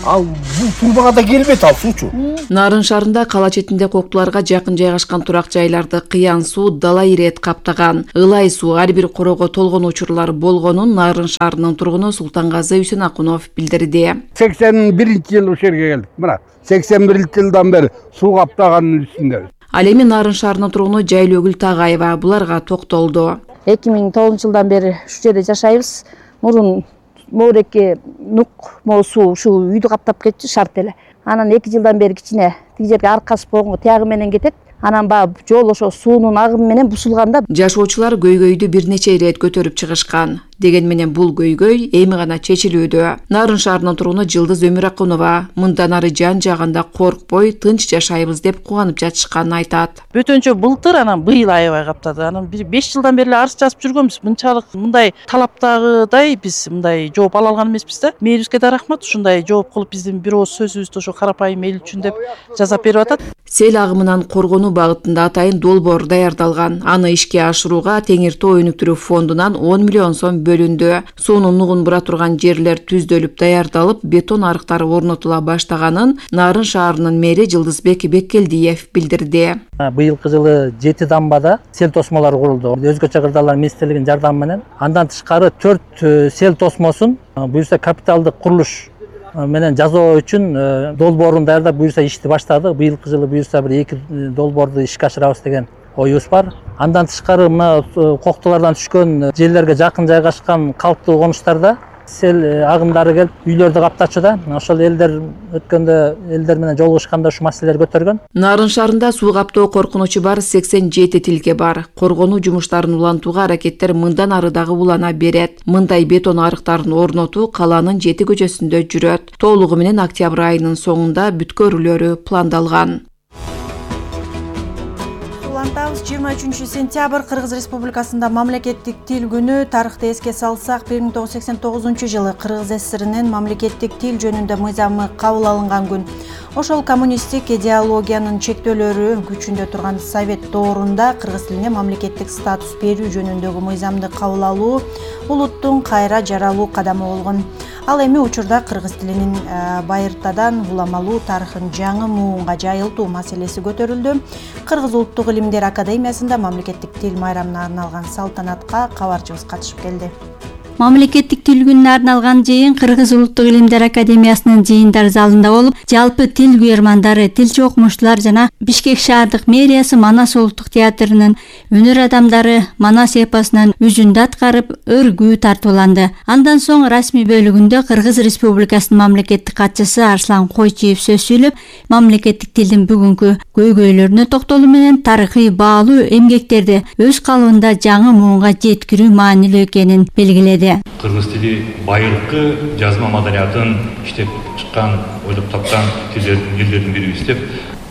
Ал бул турбага да келбейт, ал суучу. Нарын шаарында кала четинде Коктуларга жакын жайгашкан турак жайларды кыян суу дала ирет каптаган. Ылай суу ар бир корого толгон учурлар болгонун Нарын шаарынын тургуну Султангазы Үсөнакунов билдирди. 81-жылы ушул жерге келдик. Мына 81-жылдан бери суу каптаганын үстүндө. Ал эми Нарын шаарынын тургуну Жайлыөгүл Тагаева буларга токтолду. 2009-жылдан бери ушул жерде жашайбыз. Мурун моореке нук суу ушул үйдү каптап кетчү шарт эле. Анан 2 жылдан бери кичине тиги жерге аркасы болгонго тиягы менен кетет. Анан баягы жол ошо суунун агымы менен бусулганда жашоочулар көйгөйдү бир нече ирет көтөрүп чыгышкан. Деген менен бул көйгөй эми гана чечилүүдө. Нарын шаарынын тургуну Жылдыз Өмүракунова мындан ары жан жагында коркпой тынч жашайбыз деп кубанып жатышканын айтат. Бөтөнчө былтыр, анан быйыл аябай каптады. Анан 5 жылдан бери арыз жазып жүргөнбүз. Мынчалык мындай талаптагыдай биз мындай жооп ала алган эмеспиз да. Мээрибизге да рахмат, ушундай жооп кылып биздин бир ооз сөзүбүздү ошо карапайым эл үчүн деп жазап берип атат. Сел агымынан коргонуу багытында атайын долбоор даярдалган. Аны ишке ашырууга Теңир Тоо өнүктүрүү фондунан 10 миллион сом бөлүндү. Суунун нугун бура турган жерлер түздөлүп даярдалып, бетон арыктары орнотула баштаганын Нарын шаарынын мэри Жылдызбек Беккелдиев билдирди. Быйылкы жылы 7 дамбада сел тосмолору курулду. Өзгөчө кырдаалар министрлигинин жардамы менен. Андан тышкары 4 сел тосмосун буюрса капиталдык курулуш менен жазуу үчүн долбоорун даярдап буюрса ишти баштады. Быйылкы жылы буюрса бир 2 долбоорду ишке ашырабыз деген оюбуз бар. Андан тышкары мына Коктулардан түшкөн жерлерге жакын жайгашкан калктуу конуштарда сел агымдары келип үйлөрдү каптачуда. Ошол элдер өткөндө элдер менен жолугушканда ушу маселелер көтөргөн. Нарын шаарында суу каптоо коркунучу бар 87 тилке бар. Коргонуу жумуштарын улантууга аракеттер мындан ары дагы улана берет. Мындай бетон арыктарын орнотуу каланын 7 көчөсүндө жүрөт. Толугу менен октябрь айынын соңунда бүткөрүлөрү пландалган. 23 сентябрь Кыргыз Республикасында мамлекеттик тил күнү. Тарыхты эске салсак, 1989 жылы Кыргыз ССРинин мамлекеттик тил жөнүндө мыйзамы кабыл алынган күн. Ошол коммунисттик идеологиянын чектөөлөрү күчүндө турган Совет доорунда кыргыз тилине мамлекеттик статус берүү жөнүндөгү мыйзамды кабыл алуу улуттун кайра жаралуу кадамы болгон. Ал эми учурда кыргыз тилинин байыртадан уламалуу тарыхын жаңы муунга жайылтуу маселеси көтөрүлдү. Кыргыз Улуттук Илимдер Академиясында мамлекеттик тил майрамына арналган салтанатка кабарчыбыз катышып келди. Мамлекеттик тил күнүнө арналган жыйын Кыргыз Улуттук Илимдер Академиясынын жыйындар залында болуп, жалпы тил күйөрмандары, тилчи окумуштуулар жана Бишкек шаардык мэриясы, Манас улуттук театрынын өнөр адамдары Манас эпосунан үзүндү аткарып, өргүү тартууланды. Андан соң расмий бөлүгүндө Кыргыз Республикасынын мамлекеттик катчысы Арслан Койчиев сөз сүйлөп, мамлекеттик тилдин бүгүнкү көйгөйлөрүнө токтолуу менен тарыхый баалуу эмгектерди өз калыбында жаңы муунга жеткирүү маанилүү экенин белгиледи. Кыргыз тили байыркы жазма маданиятын иштеп чыккан, ойлоп тапкан элдердин бирибиз деп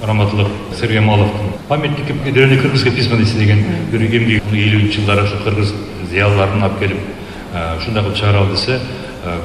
Раматылык Сергемаловдун памятник древний кыргызской письменности деген бир эмгеги 50-жылдары ушу кыргыз зыялыларын алып келип ушундай кылып чыгаралы десе,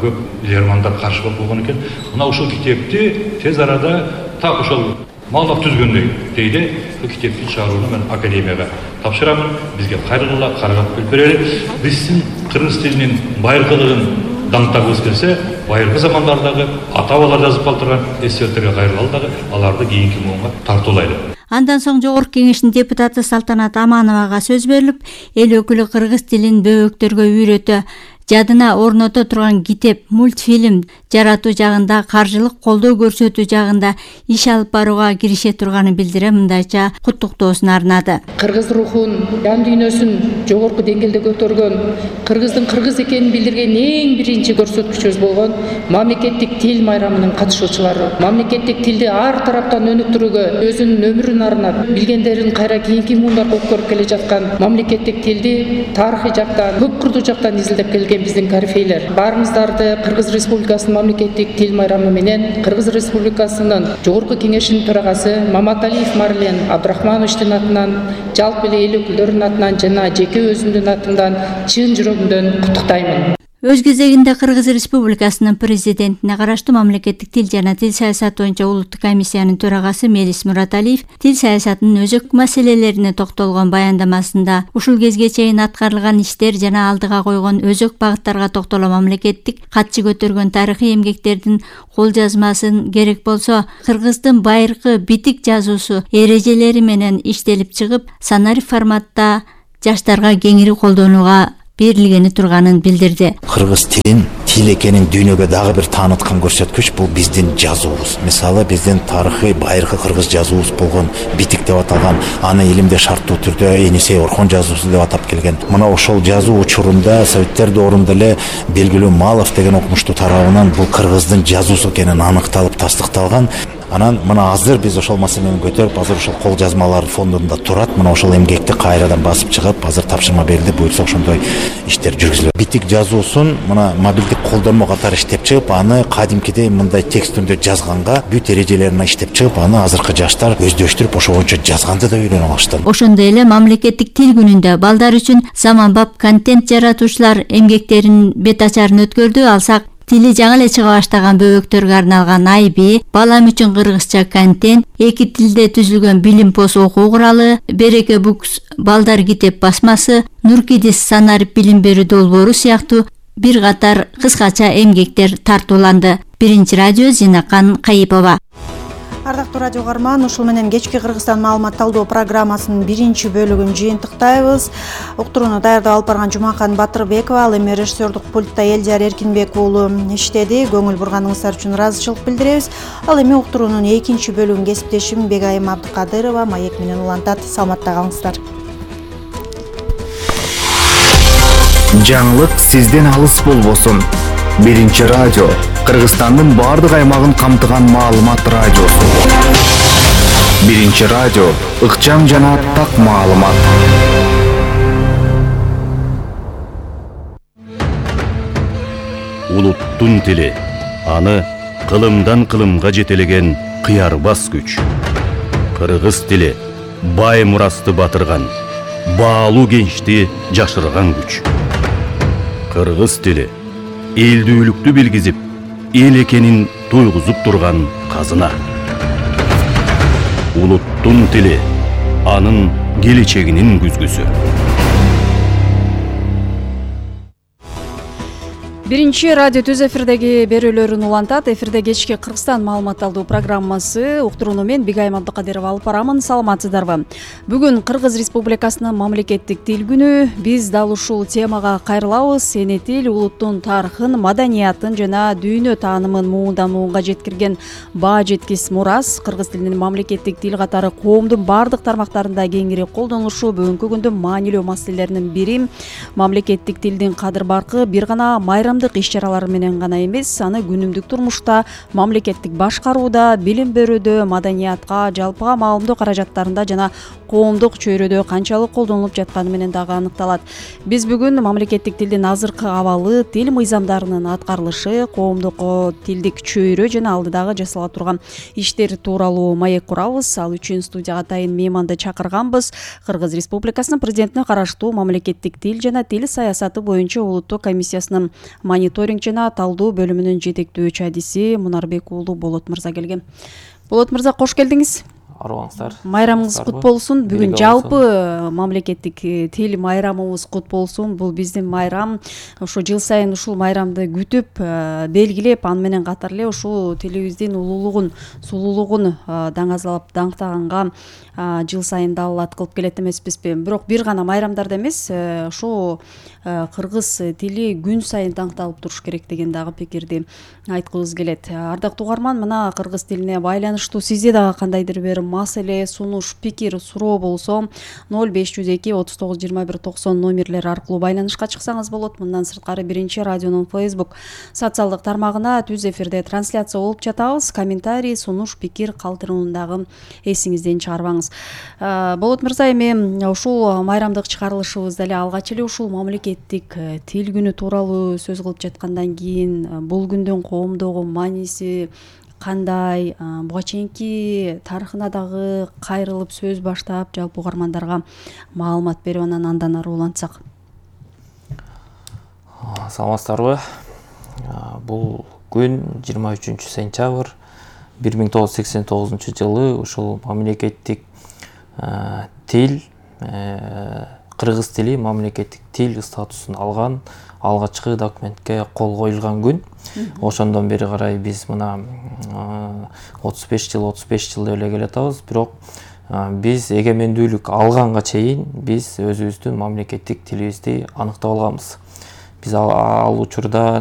көп лермандар каршы болуп койгон экен. Мына ушул китепти тез арада так ошол малдап түзгөндөй дейди. Бул китептин чыгарууну мен академияга тапшырамын. Бизге кайрылгыла, каргап келип берели. Биздин кыргыз тилинин байыркылыгын даңктагыбыз келсе, байыркы замандардагы ата-бабалар жазып калтырган эсертерге кайрылалы дагы аларды кийинки муунга тартуулайлы. Андан соң Жогорку Кеңештин депутаты Салтанат Амановага сөз берилип, эл өкүлү кыргыз тилин бөбөктөргө үйрөтө, жадына орното турган китеп, мультфильм жаратуу жагында, каржылык колдоо көрсөтүү жагында иш алып барууга кирише турганын билдире мындайча куттуктоосун арнады. Кыргыз рухун, жан дүйнөсүн жогорку деңгээлде көтөргөн, кыргыздын кыргыз экенин билдирген эң биринчи көрсөткүчүбүз болгон мамлекеттик тил майрамынын катышуучулары. Мамлекеттик тилди ар тараптан өнүктүрүүгө өзүнүн өмүрүн арнап, билгендерин кайра кийинки муундарга өткөрүп келе жаткан мамлекеттик тилди тарыхый жактан, көп курдуу жактан изилдеп келген биздин корифейлер. Баарыңыздарды Кыргыз Республикасынын мамлекеттик тил майрамы менен Кыргыз Республикасынын Жогорку Кеңешинин төрагасы Маматалиев Марлен Абдрахмановичтин атынан, жалпы эле эл өкүлдөрүнүн атынан жана жеке өзүмдүн атымдан чын жүрөгүмдөн куттуктаймын. Өз кезегинде Кыргыз Республикасынын президентине караштуу мамлекеттик тил жана тил саясаты боюнча улуттук комиссиянын төрагасы Мелис Мураталиев тил саясатынын өзөк маселелерине токтолгон баяндамасында ушул кезге чейин аткарылган иштер жана алдыга койгон өзөк багыттарга токтоло мамлекеттик катчы көтөргөн тарыхый эмгектердин кол жазмасын, керек болсо кыргыздын байыркы битик жазуусу эрежелери менен иштелип чыгып, санари форматта жаштарга кеңири колдонууга берилгени турганын билдирди. Кыргыз тилин тил экенин дүйнөгө дагы бир тааныткан көрсөткүч бул биздин жазуубуз. Мисалы биздин тарыхый байыркы кыргыз жазуубуз болгон битик деп аталган, аны илимде шарттуу түрдө Энисей Орхон жазуусу деп атап келген. Мына ошол жазуу учурунда Советтер доорунда эле белгилүү Малов деген окумуштуу тарабынан бул кыргыздын жазуусу экенин аныкталып тастыкталган. Анан мына азыр биз ошол маселени көтөрүп, азыр ошол кол жазмалар фондунда турат. Мына ошол эмгекти кайрадан басып чыгып, азыр тапшырма берилди, буюрса ошондой иштер жүргүзүлөт. Битик жазуусун мына мобилдик колдонмо катары иштеп чыгып, аны кадимкидей мындай текст түрүндө жазганга, бүт эрежелерин иштеп чыгып, аны азыркы жаштар өздөштүрүп, ошо боюнча жазганды да үйрөнүп алышты. Ошондой эле мамлекеттик тил күнүндө балдар үчүн заманбап контент жаратуучулар эмгектеринин бет ачарын өткөрдү. Алсак, тили жаңы эле чыга баштаган бөбөктөргө арналган айби, балам үчүн кыргызча контент, эки тилде түзүлгөн билим пост окуу куралы, Береке Books балдар китеп басмасы, Нуркидис санарип билим берүү долбоору сыяктуу бир катар кыскача эмгектер тартууланды. Биринчи радио, Зинакан Кайыпова. Ардактуу радио угарман, ушул менен кечки Кыргызстан маалымат талдоо программасынын биринчи бөлүгүн жыйынтыктайбыз. Уктурууну даярдап алып барган Жумакан Батырбекова, ал эми режиссердук пультта Элдияр Эркинбек уулу иштеди. Көңүл бурганыңыздар үчүн ыраазычылык билдиребиз. Ал эми уктуруунун экинчи бөлүгүн кесиптешим Бегайым Абдыкадырова маек менен улантат. Саламатта калыңыздар. Жаңылык сизден алыс болбосун. Биринчи радио Кыргызстандын бардык аймагын камтыган маалымат радиосу. Биринчи радио ыкчам жана так маалымат. Улуттун тили, аны кылымдан кылымга жетелеген кыярбас күч. Кыргыз тили бай мурасты батырган, баалуу кенчти жашырган күч. Кыргыз тили элдүүлүктү билгизип, эл экенин туйгузуп турган казына. Улуттун тили, анын келечегинин күзгүсү. Биринчи радио түз эфирдеги берүүлөрүн улантат. Эфирде кечки Кыргызстан маалымат алуу программасы. Уктурууну мен Бегайым Абдыкадырова алып барамын. Саламатсыздарбы? Бүгүн Кыргыз Республикасынын мамлекеттик тил күнү. Биз дал ушул темага кайрылабыз. Эне тил улуттун тарыхын, маданиятын жана дүйнө таанымын муундан муунга жеткирген баа жеткис мурас. Кыргыз тилинин мамлекеттик тил катары коомдун бардык тармактарында кеңири колдонулушу бүгүнкү күндүн маанилүү маселелеринин бири. Мамлекеттик тилдин кадыр баркы бир гана майрамдык иш-чаралар менен гана эмес, аны күнүмдүк турмушта, мамлекеттик башкарууда, билим берүүдө, маданиятка, жалпыга маалымдоо каражаттарында жана коомдук чөйрөдө канчалык колдонулуп жатканы менен дагы аныкталат. Биз бүгүн мамлекеттик тилдин азыркы абалы, тил мыйзамдарынын аткарылышы, коомдук тилдик чөйрө жана алдыдагы жасала турган иштер тууралуу маек курабыз. Ал үчүн студияга атайын мейманды чакырганбыз. Кыргыз Республикасынын президентине караштуу мамлекеттик тил жана тил саясаты боюнча улуттук комиссиясынын мониторинг жана талдоо бөлүмүнүн жетектөөчү адиси Мунарбек уулу Болот мырза келген. Болот мырза, кош келдиңиз. арыбаңыздар. Майрамыңыз кут болсун. Бүгүн жалпы мамлекеттик тил майрамыбыз кут болсун. Бул биздин майрам. Ошо жыл сайын ушул майрамды күтүп, белгилеп, аны менен катар эле ушул тилибиздин улуулугун, сулуулугун даңазалап даңктаганга жыл сайын далаат кылып келет эмеспизби? Бирок бир гана майрамдарда эмес, ошо кыргыз тили күн сайын даңкталып туруш керек деген дагы пикирди айткыбыз келет. Ардактуу угарман, мына кыргыз тилине байланыштуу сизде дагы кандайдыр бир маселе, сунуш, пикир, суроо болсо 0502 39 21 90 номерлери аркылуу байланышка чыксаңыз болот. Мындан сырткары биринчи радионун Facebook социалдык тармагына түз эфирде трансляция болуп жатабыз. Комментарий, сунуш, пикир калтырууну дагы эсиңизден чыгарбаңыз. Болот мырза, эми ушул майрамдык чыгарылышыбызда эле алгач эле ушул мамлекеттик тил күнү тууралуу сөз кылып жаткандан кийин бул күндүн коомдогу мааниси кандай, буга чейинки тарыхына дагы кайрылып сөз баштап, жалпы угармандарга маалымат берип, андан ары улантсак. Саламатсыздарбы? Бул күн 23 сентябрь 1989 жылы ушул мамлекеттик тил, кыргыз тили мамлекеттик тил статусун алган алгачкы документке кол коюлган күн. Ошондон бери карай биз мына 35 жыл эле келатабыз. Бирок биз эгемендүүлүк алганга чейин биз өзүбүздүн мамлекеттик тилибизди аныктап алганбыз. Биз ал учурда